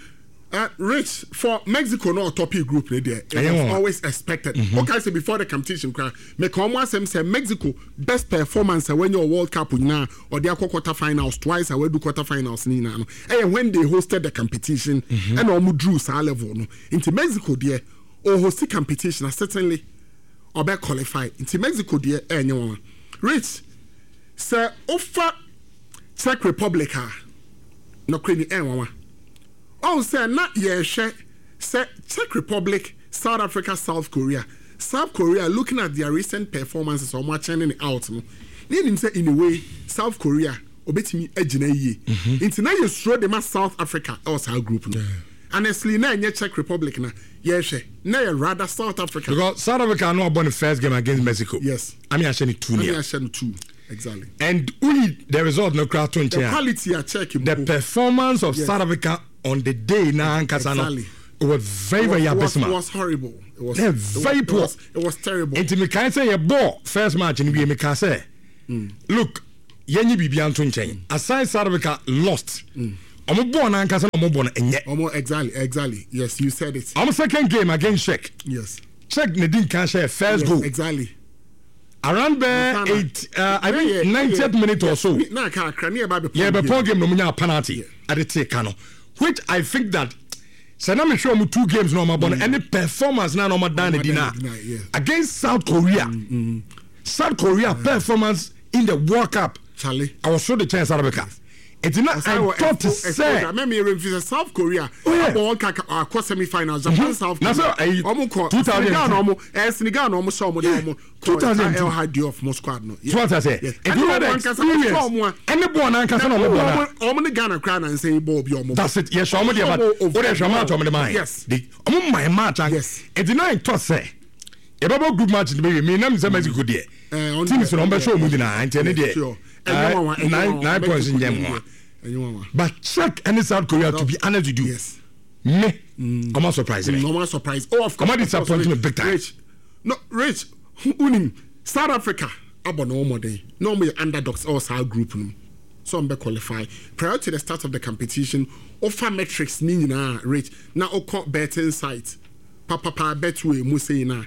Rich for Mexico no ɔtɔpi group ne deɛ it was always expected. Okay, sɛ before the competition kora meka ɔmo asɛm sɛ Mexico best performance a wanya wɔ World Cup nyinaa ɔde akɔ quarter finals twice a wadu quarter finals ne nyinaa no ɛyɛ when they hosted the competition ɛna ɔmo drew saa level no nti Mexico deɛ ɔhosti competition a certainly ɔbɛ qualify nti Mexico deɛ ɛnyɛ wɔn. Rich sɛ wofa Czech Republic a nɔkorɛ ni ɛnwanwa. Ɔhu sɛ na yɛrehwɛ sɛ Czech Republic, South Africa, South Korea. South Korea looking at their recent performances a wɔn akyɛn ne out no, na yɛnim sɛ in a way South Korea obetumi agyina yie. Nti na yɛsuro de ma South Africa ɛwɔ saa group no. Honestly na ɛnyɛ Czech Republic na yɛrehwɛ, na yɛ rather South Africa. Because South Africa no abɔ ne first game against Mexico. Yes. Ami ahyɛ ne 2 Ami nil. ahyɛ no 2 exactly. And woyi the result no koraa to The nkyɛn a, quality a Czech the mpo. performance of Yes. South Africa on the day na ankasa no Exactly. it was very It very abysmal. was horrible. It was, Yeah, it was, very it poor. was, it was terrible. Nti mekae sɛ yɛbɔɔ first match no wie meka sɛ look yɛnyi biribia nto nkyɛn aside South Africa lost ɔmo bɔɔ no ankasa na ɔmo bɔ no ɛnyɛ Omo, exactly, exactly. Yes, you said it. ɔmo second game against Czech Yes. Czech na di nkan hyɛ first Yes, goal exactly. around bɛɛ Montana. eight I think 90th minute or so Na aka akra ne yɛba bɛpɔn yɛbɛpɔn game. game na ɔmo nya penalty ɛde tee ka no which I think that sɛ na mehwɛ ɔmo two games na ɔmo abɔ no ɛne performance na na ɔmo dan ne Ɔmo di na dan ne di na, yeah. against South Korea South Korea performance in the World Cup Charlie. I was so the chance South Africa nti na I thought sɛ Mɛmi yɛrɛ nfi sɛ South Korea Oh, yeah. abɔ World Cup akɔ semi finals Japan South Na Korea sɛ, ɛyi, ɔmo kɔ 2002. Senegal na ɔmo ɛɛ Senegal na ɔmo hyɛ ɔmo na ɔmo kɔ 2002. El Hadji of mo squad no. so what I say Yes. nti Ɛne wo ɔmo the ankasa ɔmo experience hyɛ ɔmo a ɛne bɔɔl na ankasa na ɔmo bɔ na ɔmo ne Ghana koraa na nsɛn bɔɔl bi ɔmo. that's it yɛhyɛ ɔmo deɛ but Ɔmo o de hwɛ match ɔmo de maa yɛ Yes. de ɔmo maa match anka Yes. nti na ntɔ sɛ yɛbɛbɔ group match no bɛwie mi nam sɛ Mexico deɛ Eh, ɔno teams deɛ, na ɔmo bɛhyɛ ɔmo yeah. nyinaa nti ɛne deɛ Sure. Ɛnyɛ nwanwa, ɛnyɛ nwanwa. 9 points Mexico nyɛ deɛ, nwanwa ɛnyɛ nwanwa. but Czech ɛne South Korea to be honest with you Yes. me Ɔmo surprise me. Ɔmo surprise. Oh of course. Ɔmo disappoint me big time. Rich no Rich unim South Africa abɔ ne ho mmɔden na ɔmo yɛ underdogs ɛwɔ saa group no mu sɛ ɔmo bɛ qualify prior to the start of the competition wofa metrics ne nyinaa Rich na wokɔ betting site papapa betway mu sei no a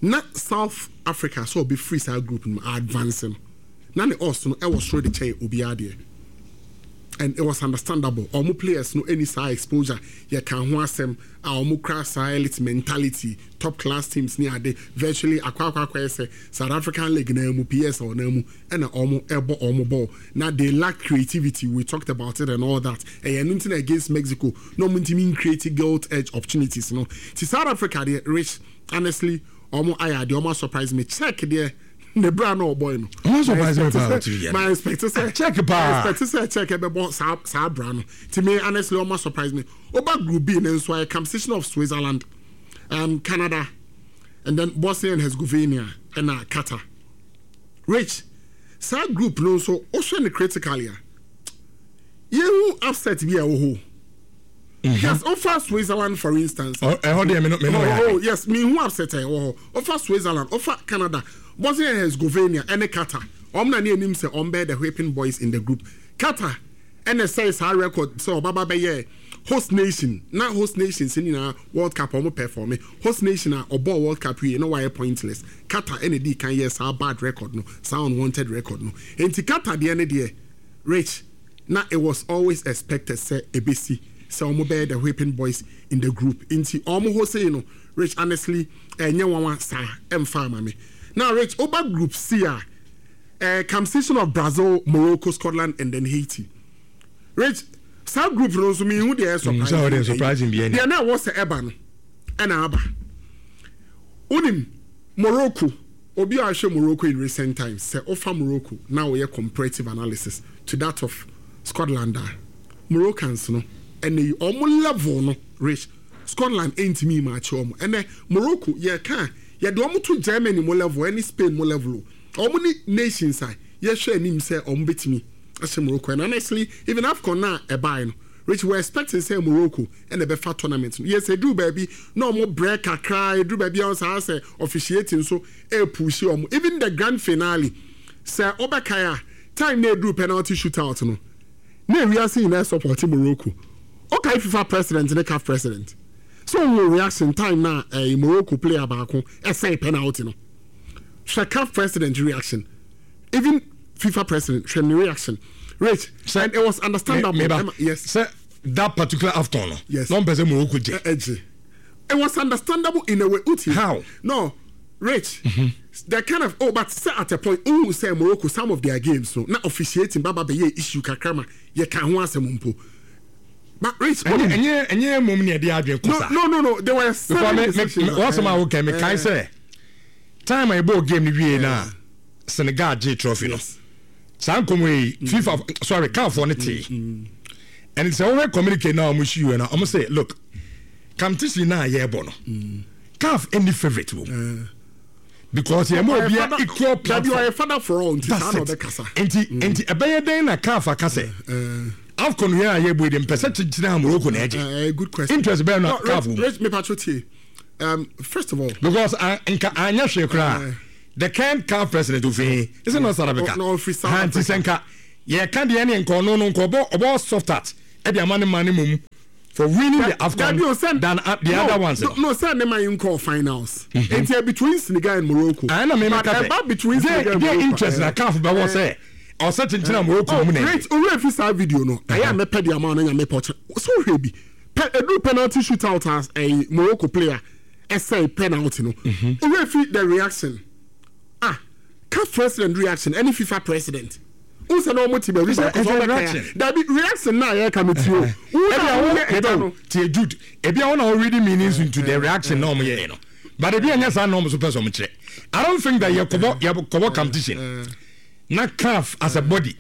na South Africa sɛ ɔbɛ firi saa group no mu advance no na ne odds no ɛwɔ soro de kyɛn obiara deɛ and it was understandable ɔmo players no ɛni saa exposure yɛ ka ho asɛm a ɔmo kura saa elite mentality top class teams ne ade virtually akɔ akɔ akɔyɛ sɛ South African league naa mu PSL naa mu ɛna ɔmo ɛbɔ ɔmo ball na they lack creativity we talked about it and all that ɛyɛ ɛno nti na against Mexico na ɔmo ntumi ncreate gilt edge opportunities no ti South Africa deɛ rich honestly ɔmo ayɛ adeɛ ɔmo asurprise me check deɛ ne bra na ɔbɔe no. Ɔmo surprise me paa ɔtiri yɛ. Ma expect sɛ check paa. Ma expect sɛ check ɛbɛbɔ saa saa bra no. Ti me honestly ɔmo surprise me. Oba group B ne nso ayɛ competition of Switzerland, um, Canada, and then Bosnia and Herzegovina ɛna Qatar. Rich, saa group no nso wohwɛ no critically a, yɛhu upset bi a ɛwɔ hɔ. Mm-hmm. Yes, ofa Switzerland for instance. Oh, ɛhɔ deɛ me no me no yɛ. Oh, yes, me hu upset a ɛwɔ hɔ. Ofa Switzerland, ofa Canada, Bosnia and Herzegovina ɛne Qatar. Wɔn na ne anim sɛ wɔn bɛyɛ the whipping boys in the group. Qatar ɛna ɛsɛe saa record sɛ ɔbaba bɛyɛ host nation na host nations nyinaa World Cup wɔn performe. Host nation a ɔbɔɔ World Cup wie na wayɛ pointless. Qatar ɛna edii kan yɛɛ saa bad record no, saa unwanted record no. Enti Qatar deɛ ne deɛ, Rich, na it was always expected sɛ ebesi sɛ wɔn bɛyɛ the whipping boys in the group. Nti wɔn hɔ sei no, Rich, honestly, ɛnyɛ nwanwa saa, ɛmfa ama me. Now Rich, woba group C a, eh, competition of Brazil, Morocco, Scotland and then Haiti. Rich, saa group no nso menhu deɛ ɛyɛ mm, surprising. Surprising bi deɛ na ɛwɔ sɛ ɛba no ɛna aba. Wonim Morocco, obi a ɔhwɛ Morocco in recent times, sɛ wofa Morocco na woyɛ comparative analysis to that of Scotland a, Moroccans no ɛnɛ yi wɔn level no rich Scotland ɛntumi maakye wɔn. Ɛnɛ Morocco yɛka a yɛde wɔn to Germany mo level ɛne Spain mo level o. Wɔn ne nations a yɛhwɛ anim sɛ wɔn bɛtumi ahyɛ Morocco and honestly even AFCON no a ɛbaeɛ no Rich we were expecting sɛ Morocco na ɛbɛfa tournament no yes ɛduru baabi na wɔn brɛ kakra ɛduru baabi a saa sɛ officiating nso ɛrepushi wɔn even the grand finale sɛ wobɛkae a time na ɛduru penalty shootout no na ewiase nyinaa support Morocco wokae FIFA president ne CAF president so wɔn reaction time na ɛɛ Morocco player baako ɛsɛe penalty no hwɛ CAF president reaction even FIFA president hwɛ ne reaction rich sɛ, and it was understandable. Me, meba, yes. Sɛ that particular AFCON no. Yes. Na ɔmpɛ sɛ Morocco gye. Ɛgye. It was understandable in a way. Uti. How? No, Rich. Mm -hmm. The kind of oh, but say at a point, oh, say Morocco some of their games no na officiating baba bɛyɛ issue kakrama yɛ ka ho asɛm mpo. But Rich, ɛnyɛ ɛnyɛ ɛnyɛ mom ni ɛde adwene kɔ sa. No no no, there were seven decisions. Because me me wɔsɛm a wɔkɛ me kae sɛ time a yɛbɔɔ game no wie na Senegal gyee trophy no saa nkɔmɔ yi mm. FIFA sorry CAF foɔ no tee mm, mm. and sɛ wɔhwɛ communicate na wɔn si yɛ na wɔn sɛ look competition na yɛrebɔ no CAF any favourite wɔ mu because yɛn mu obiara equal platform ɔyɛ father for all nti saa na ɔbɛkasa nti nti ɛbɛyɛ dɛn na CAF aka sɛ AFCON yɛn a yɛbɔ yi de mpɛ sɛ kyekyere a Morocco na ɛgye interest bɛyɛ na CAF wɔ mu. Um, first of all. Because uh, nka anya hwee koraa. Uh, the current CAF president ofin is it not South Africa? No, ofiri South Africa. Nti sɛ nka yɛka deɛ ne nka ɔno no nka ɔbɔ ɔbɔ soft heart ɛde ama ne ma ne mom for winning the AFCON than uh, the no, other ones. No, no, sɛ ne ma yi nkɔ finals. Mm-hmm. Nti between Senegal and Morocco. Ɛna mi mi ka sɛ between Senegal and Morocco. interest na CAF bɛ wɔ sɛ ɔsɛ kyenkyen a Morocco mu na ɛyɛ. Owurɛ fi saa video no ɛyɛ a mɛpɛ de ama ɔno nya mɛpɛ ɔkyɛ so hwɛ bi. Pɛ eduru penalty shoot out as ɛyi Morocco player ɛsɛe penalty no. Mhm. Owura fi the reaction. Ah, CAF president reaction ɛne FIFA president. N sɛ na wɔn ti baabi baako sɛ ɔbɛka ya. Dabi reaction na yɛ ka mi ti o. Wo na wo yɛ ɛda no. Tie Jude, ebi a wɔn na wɔn reading meanings into the reaction na wɔn yɛ no. But ebi ɛnyɛ saa na wɔn so pɛ sɛ wɔn kyerɛ. I don't think that yɛ kɔbɔ yɛ kɔbɔ competition. Na CAF as a body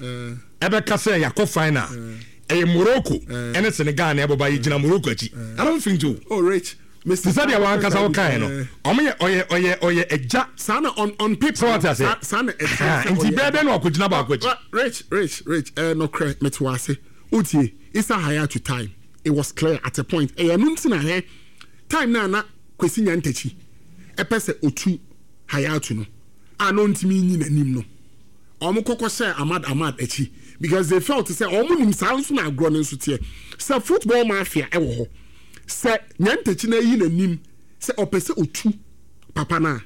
ɛbɛka sɛ yɛakɔ final. Ɛyɛ Morocco ɛne Senegal na ɛbɔba yɛ gyina Morocco akyi. I don't think so. Oh rich. Te sɛ deɛ wankasa wo kae no. Ɔmo yɛ ɔyɛ ɔyɛ ɔyɛ agya. Saa na on on paper. Sɛ wate aseɛ. Saa na ɛkyerɛ sɛ ɔyɛ. Nti bɛɛ dɛn na wakɔ gyina baako akyi. Rich rich rich ɛɛ nɔkorɛ mete wɔ ase. Wotie Issa Hayatou time. It was clear at a point. Ɛyɛ ɛno nti na hwɛ time no a na Kwesi Nyantakyi ɛpɛ sɛ otu Hayatu no a na ɔntumi nyi n'anim no, wɔn kɔ kɔhyɛɛ Ahmad Ahmad akyi because they felt sɛ wɔn nim saa nso na agorɔ no nso teɛ. Sɛ football mafia ɛwɔ hɔ, sɛ Nyantakyi no ayi n'anim sɛ ɔpɛ sɛ otu papa no a,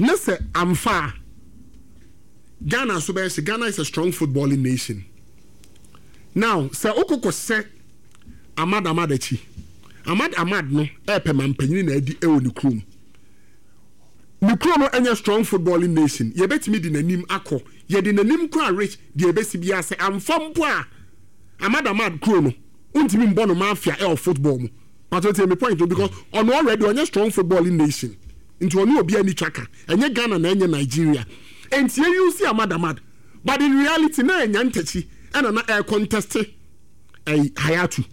ne sɛ amfa a, Ghana nso bɛyɛ hye. Ghana is a strong footballing nation. Now sɛ wokɔ kɔhyɛ Ahmad Ahmad akyi, Ahmad Ahmad no ɛɛpɛ mampanyini na adi ɛwɔ ne kurom. Ne kuro no ɛnyɛ strong footballing nation. Yɛbɛtumi de n'anim akɔ. Yɛde n'anim kɔ a rich deɛ ɛbɛsi biara sɛ amfa mpo a Ahmad Ahmad kuro no wontumi mbɔ no mafia ɛwɔ football mu. Pato tie me point no because ɔno already ɔnyɛ strong footballing nation nti ɔne obiara nni twaka. Ɛnyɛ Ghana na ɛnyɛ Nigeria. Enti yɛ use Ahmad Ahmad but in reality na ɛnya ntakyi ɛna na ɛɛ contest ɛyi Hayatu.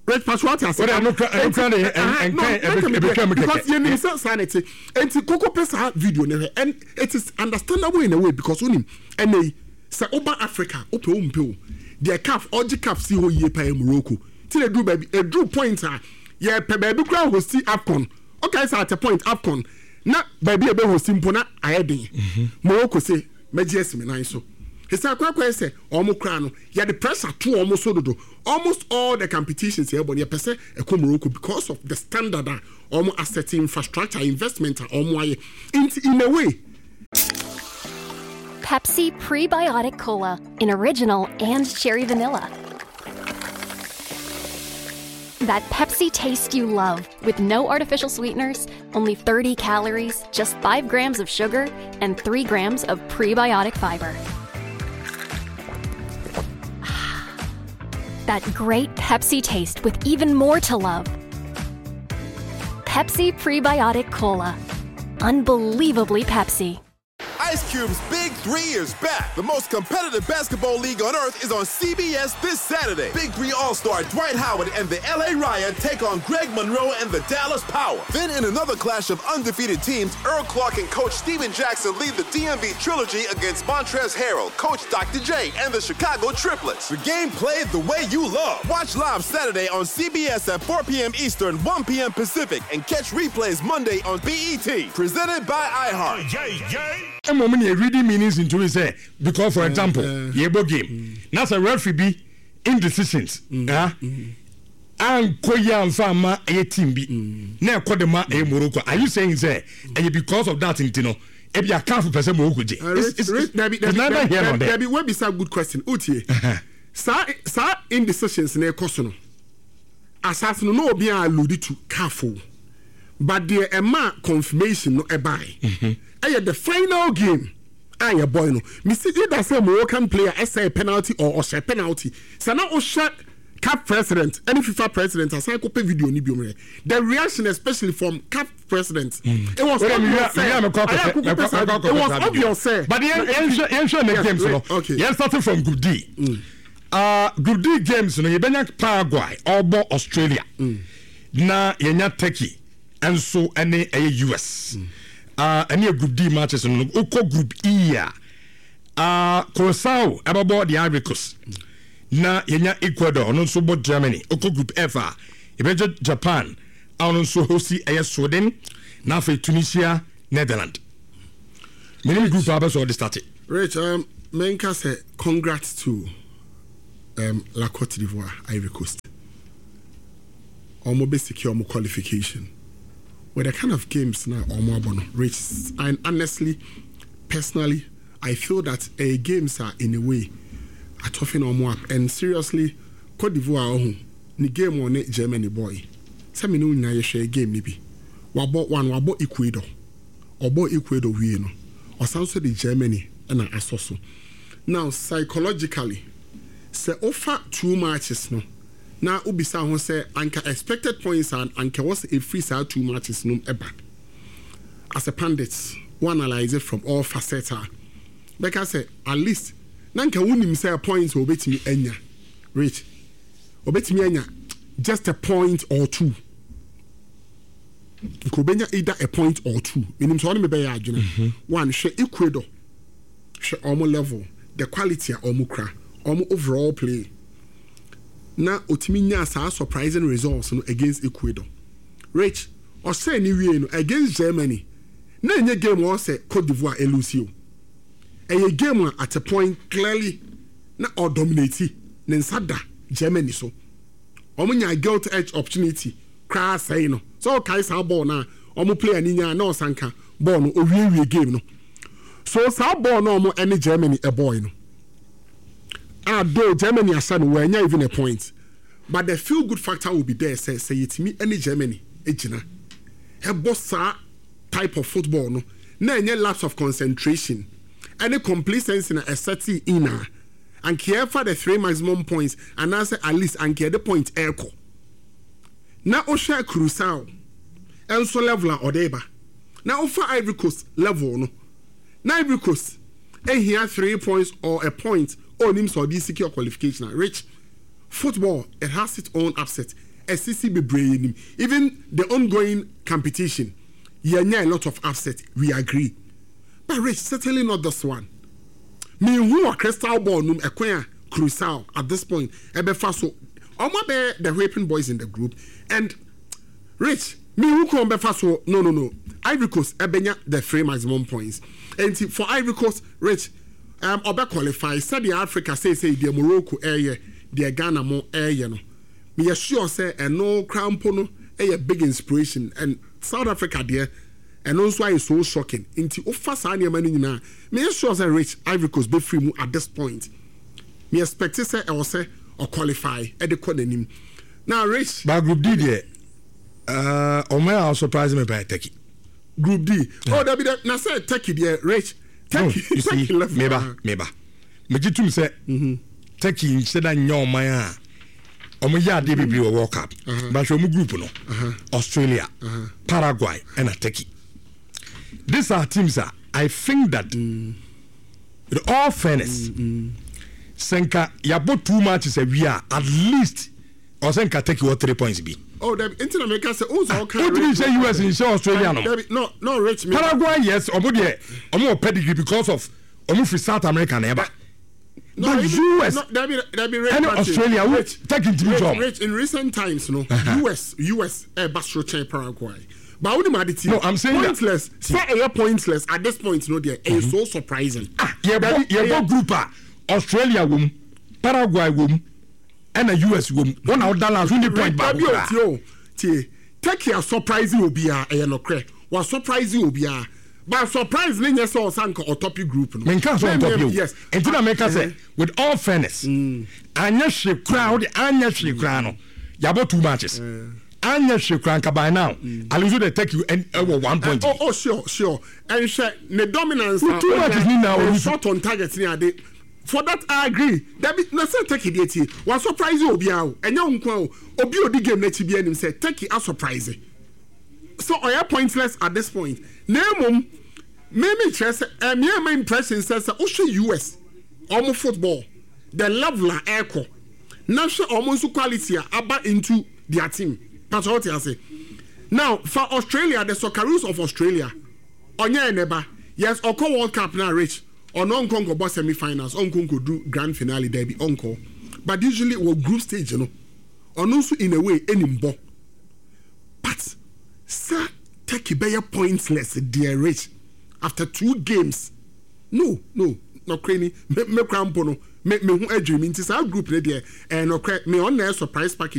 Rich Pato ate ase. Wode ɛno kura ɛno kura de ɛnka ɛbɛtwa mu kɛkɛ. Because yɛnim sɛ saa na ɛte. Enti koko pɛ saa video no hwɛ and it is understandable in a way because wonim ɛnɛ yi sɛ woba Africa wopɛ wo mpɛ o deɛ CAF ɔgye CAF si hɔ yie paa yɛ Morocco. Ti na eduru baabi eduru point a yɛpɛ baabi koraa hosti AFCON. Ɔkae sɛ at a point AFCON na baabi a ebe hosti mpo na ayɛ den. Morocco se mɛgye asi me nan so. Sɛ akɔ akɔyɛ sɛ wɔn koraa no yɛde pressure to wɔn so dodo. Almost all the competitions yɛbɔ no yɛpɛ sɛ ɛkɔ Morocco because of the standard a wɔn asɛte, infrastructure, investment a wɔn ayɛ. Nti in a way. Pepsi Prebiotic Cola in original and cherry vanilla. That Pepsi taste you love with no artificial sweeteners, only 30 calories, just 5 grams of sugar, and 3 grams of prebiotic fiber. That great Pepsi taste with even more to love. Pepsi Prebiotic Cola. Unbelievably Pepsi. Ice Cube's Big Three is back. The most competitive basketball league on earth is on CBS this Saturday. Big Three All-Star Dwight Howard and the LA Riot take on Greg Monroe and the Dallas Power. Then in another clash of undefeated teams, Earl Clark and Coach Steven Jackson lead the DMV Trilogy against Montrezl Harrell, Coach Dr. J, and the Chicago Triplets. The game played the way you love. Watch live Saturday on CBS at 4 p.m. Eastern, 1 p.m. Pacific, and catch replays Monday on BET. Presented by iHeart. Mmom nea reading meanings into it sɛ because for example yɛbɔ game na sɛ referee bi indecisions ah ankɔ yi amfa amma ɛyɛ team bi na ɛkɔ de ma ɛyɛ Morocco are you saying sɛ ɛyɛ because of that nti no ebi a CAF pɛ sɛ Morocco gye it's it's it's neither here nor there. Dabi wabisa good question wotie saa saa indecisions na ɛkɔ so no asase no na obiara allude to CAF o. But deɛ ɛmaa confirmation no ɛbae ɛyɛ the final game a yɛbɔe no. Mesi either sɛ Moroccan player ɛsɛe penalty or ɔhyɛ penalty. Sɛ na wohwɛ CAF president ɛne FIFA president asan kɔpɛ video no biom hwɛ. The reaction especially from CAF president. It was obvious sɛ ayɛ akoko pɛ saa it was obvious sɛ. But yɛnhwɛ ne games no. Yɛn starting from group D. Group D games no yɛbɛnya Paraguay ɔbɔ Australia. Na yɛnya Turkey nso ne ɛyɛ US. Ah, ɛne yɛ Group D matches no. Wokɔ Group E a, ah, Curaçao ɛbɛbɔ the Ivory Coast. Na yɛnya Ecuador, ɔno nso bɔ Germany. Wokɔ Group F a, yɛbɛgye Japan a ɔno nso hosti ɛyɛ Sweden. Na afei Tunisia, Netherland. Menim group a bɛsɛ ɔde starte. Rich, um, menka sɛ congrats to um, La Cote d'Ivoire, Ivory Coast. Ɔmo bɛ secure ɔmo qualification with the kind of games na ɔmo abɔ no rich and honestly personally I feel that ɛyɛ games a in a way atɔfe na ɔmo up and seriously Cote d'Ivoire ɔho ne game ɔne Germany bɔɔe sɛ me ne wo nyinaa yɛhwɛɛ game no bi wabɔ one wabɔ Ecuador ɔbɔɔ Ecuador wie no ɔsan nso de Germany na asɔ so now psychologically sɛ wofa two matches no na wobisa ho sɛ anka expected points a anka ɛwɔ sɛ ɛfiri saa two matches no mu ba. As a pundit, wo analyse from all facets a, bɛka sɛ at least na anka wonim sɛ points a wɔbɛtumi anya, Rich, wɔbɛtumi anya just a point or two. Nka wɔbɛnya either a point or two. Menim sɛ ɔne me bɛyɛ adwene. One, hwɛ Ecuador, hwɛ wɔn level, the quality a wɔn kura, wɔn overall play. Na otumi nyaa saa surprising results no against Ecuador. Rich, ɔhyɛɛ ne wiei no against Germany, na ɛnyɛ game a ɔsɛ Cote d'Ivoire ɛlusi o. Ɛyɛ game a at a point clearly na ɔdominate, ne nsa da Germany so. Wɔn nyaa gilt edge opportunity koraa sɛe no. Sɛ ɔkae saa bɔɔl no a wɔn player no nyaa na ɔsanka bɔɔl no, owiewie game no. So saa bɔɔl no a wɔn ɛne Germany ɛbɔɔe no, a though Germany ahyɛ no wɔannya even a point but the feel good factor will be there sɛ sɛ yɛtumi ɛne Germany gyina ɛbɔ saa type of football no na ɛnyɛ lapse of concentration ɛne complacency na ɛsɛte in a anka yɛfa the three maximum points anaasɛ at least anka yɛde point ɛrekɔ na wohwɛ Curacao nso level a ɔde ba na wofa Ivory Coast level no na Ivory Coast ehia 3 points or a point, onim sɛ ɔde secure qualification a. Rich, football, it has its own upset, ɛsisi bebree nim. Even the ongoing competition, yɛnya a lot of upset, we agree, but Rich, certainly not this one. Mihu wɔ crystal ball num ɛkwan a Curacao at this point ɛbɛfa so ɔmo abɛyɛ the whipping boys in the group. And Rich, mihu kwan bɛfa so. No, Ivory Coast ɛbɛnya the three maximum points. Nti for Ivory Coast, Rich, ɔbɛ qualify sɛdeɛ Africa seesei deɛ Morocco ɛyɛ, deɛ Ghana mo ɛyɛ no. Meyɛ sure sɛ ɛno koraa mpo no ɛyɛ big inspiration, and South Africa deɛ ɛno nso ayɛ so shocking. Nti wofa saa nneɛma no nyinaa, meyɛ sure sɛ, Rich, Ivory Coast bɛfiri mu at this point. Me expect sɛ ɛwɔ sɛ ɔqualify ɛde kɔ n'anim na, Rich. Ba Group D deɛ, ɔmo a surprise me by Turkey. Group D, oh dabi dɛ, na sɛ Turkey deɛ, Rich, Turkey no, you see, Turkey level. Meba meba megye tum sɛ Turkey nhyɛ da nyɛ ɔman a ɔmo yɛ adeɛ bebree wɔ World Cup, but hwɛ ɔmo group no, Australia, Paraguay ɛna Turkey. These are teams a I think that with all fairness, sɛ nka yɛabɔ two matches awie a, at least ɔsɛ nka Turkey wɔ 3 points bi. Oh dabi, nti na meka sɛ o sɛ ɔka. Wotumi nhyɛ US, nhyɛ Australia no. Dabi, no, Rich, me. Paraguay, yes, ɔmo deɛ ɔmo wɔ pedigree because of ɔmo firi South America na ɛba. No, but even, US no, dabi dabi, Rich ɛne Martin, Australia wo Rich, Turkey ntumi Rich, jɔm. Rich, in recent times no, US ɛba soro kyɛn Paraguay. But wo ni ma de ti. No, I'm saying that- pointless. Sɛ ɛyɛ pointless at this point no deɛ, ɛyɛ so surprising. Ah, yɛbɔ Dabi, yɛbɔ group a Australia wɔ mu, Paraguay wɔ mu, ɛna US wɔ mu, wɔn na ɔda last, wonni point baako Dabi o. koraa. Tie o, tie, Turkey a surprise obiara, ɛyɛ nɔkorɛ, wa surprise obiara, but surprise ne nyɛ sɛ ɔsan nka ɔtop group no. Menka sɛ ɔntɔ bio. Nti na meka sɛ with all fairness, anyɛ hwee koraa, wode anyɛ hwee koraa no, yɛabɔ two matches, anyɛ hwee koraa nka by now at least wode Turkey ɛwɔ 1 point. Oh, sure, ɛnhwɛ ne dominance. With two matches ni na ne olusu. shot on target ni ade, for that I agree. Dabi, na sɛ Turkey deɛ, tie, wa surprise obiara o, ɛnyɛ wo nko a o, obi a odi game n'akyi bi anim sɛ Turkey a surprise so ɔyɛ pointless at this point. Na emom mímí kyerɛ sɛ ɛmi ɛma impression sɛ wohwɛ US ɔmo football, the level a ɛkɔ, na hwɛ ɔmo nso quality a aba into their team pàtó ɔte ase. Now for Australia, the Socceroos of Australia, ɔnyɛ ɛnɛba, yes, ɔkɔ World Cup na, Rich, ɔno ɔnkɔ nkɔbɔ semi finals, ɔnkɔ nkɔdu grand finale, dɛbi, ɔnkɔ, but usually wɔ group stage no, ɔno nso in a way ɛnim bɔ. But sɛ Turkey bɛyɛ pointless deɛ, Rich, after two games, no, nɔkorɛ ni, me kora mpo no, me ho adwiri mi. Nti saa group ne deɛ, ɛyɛ nɔkorɛ, me ɔno na ɛyɛ surprise package.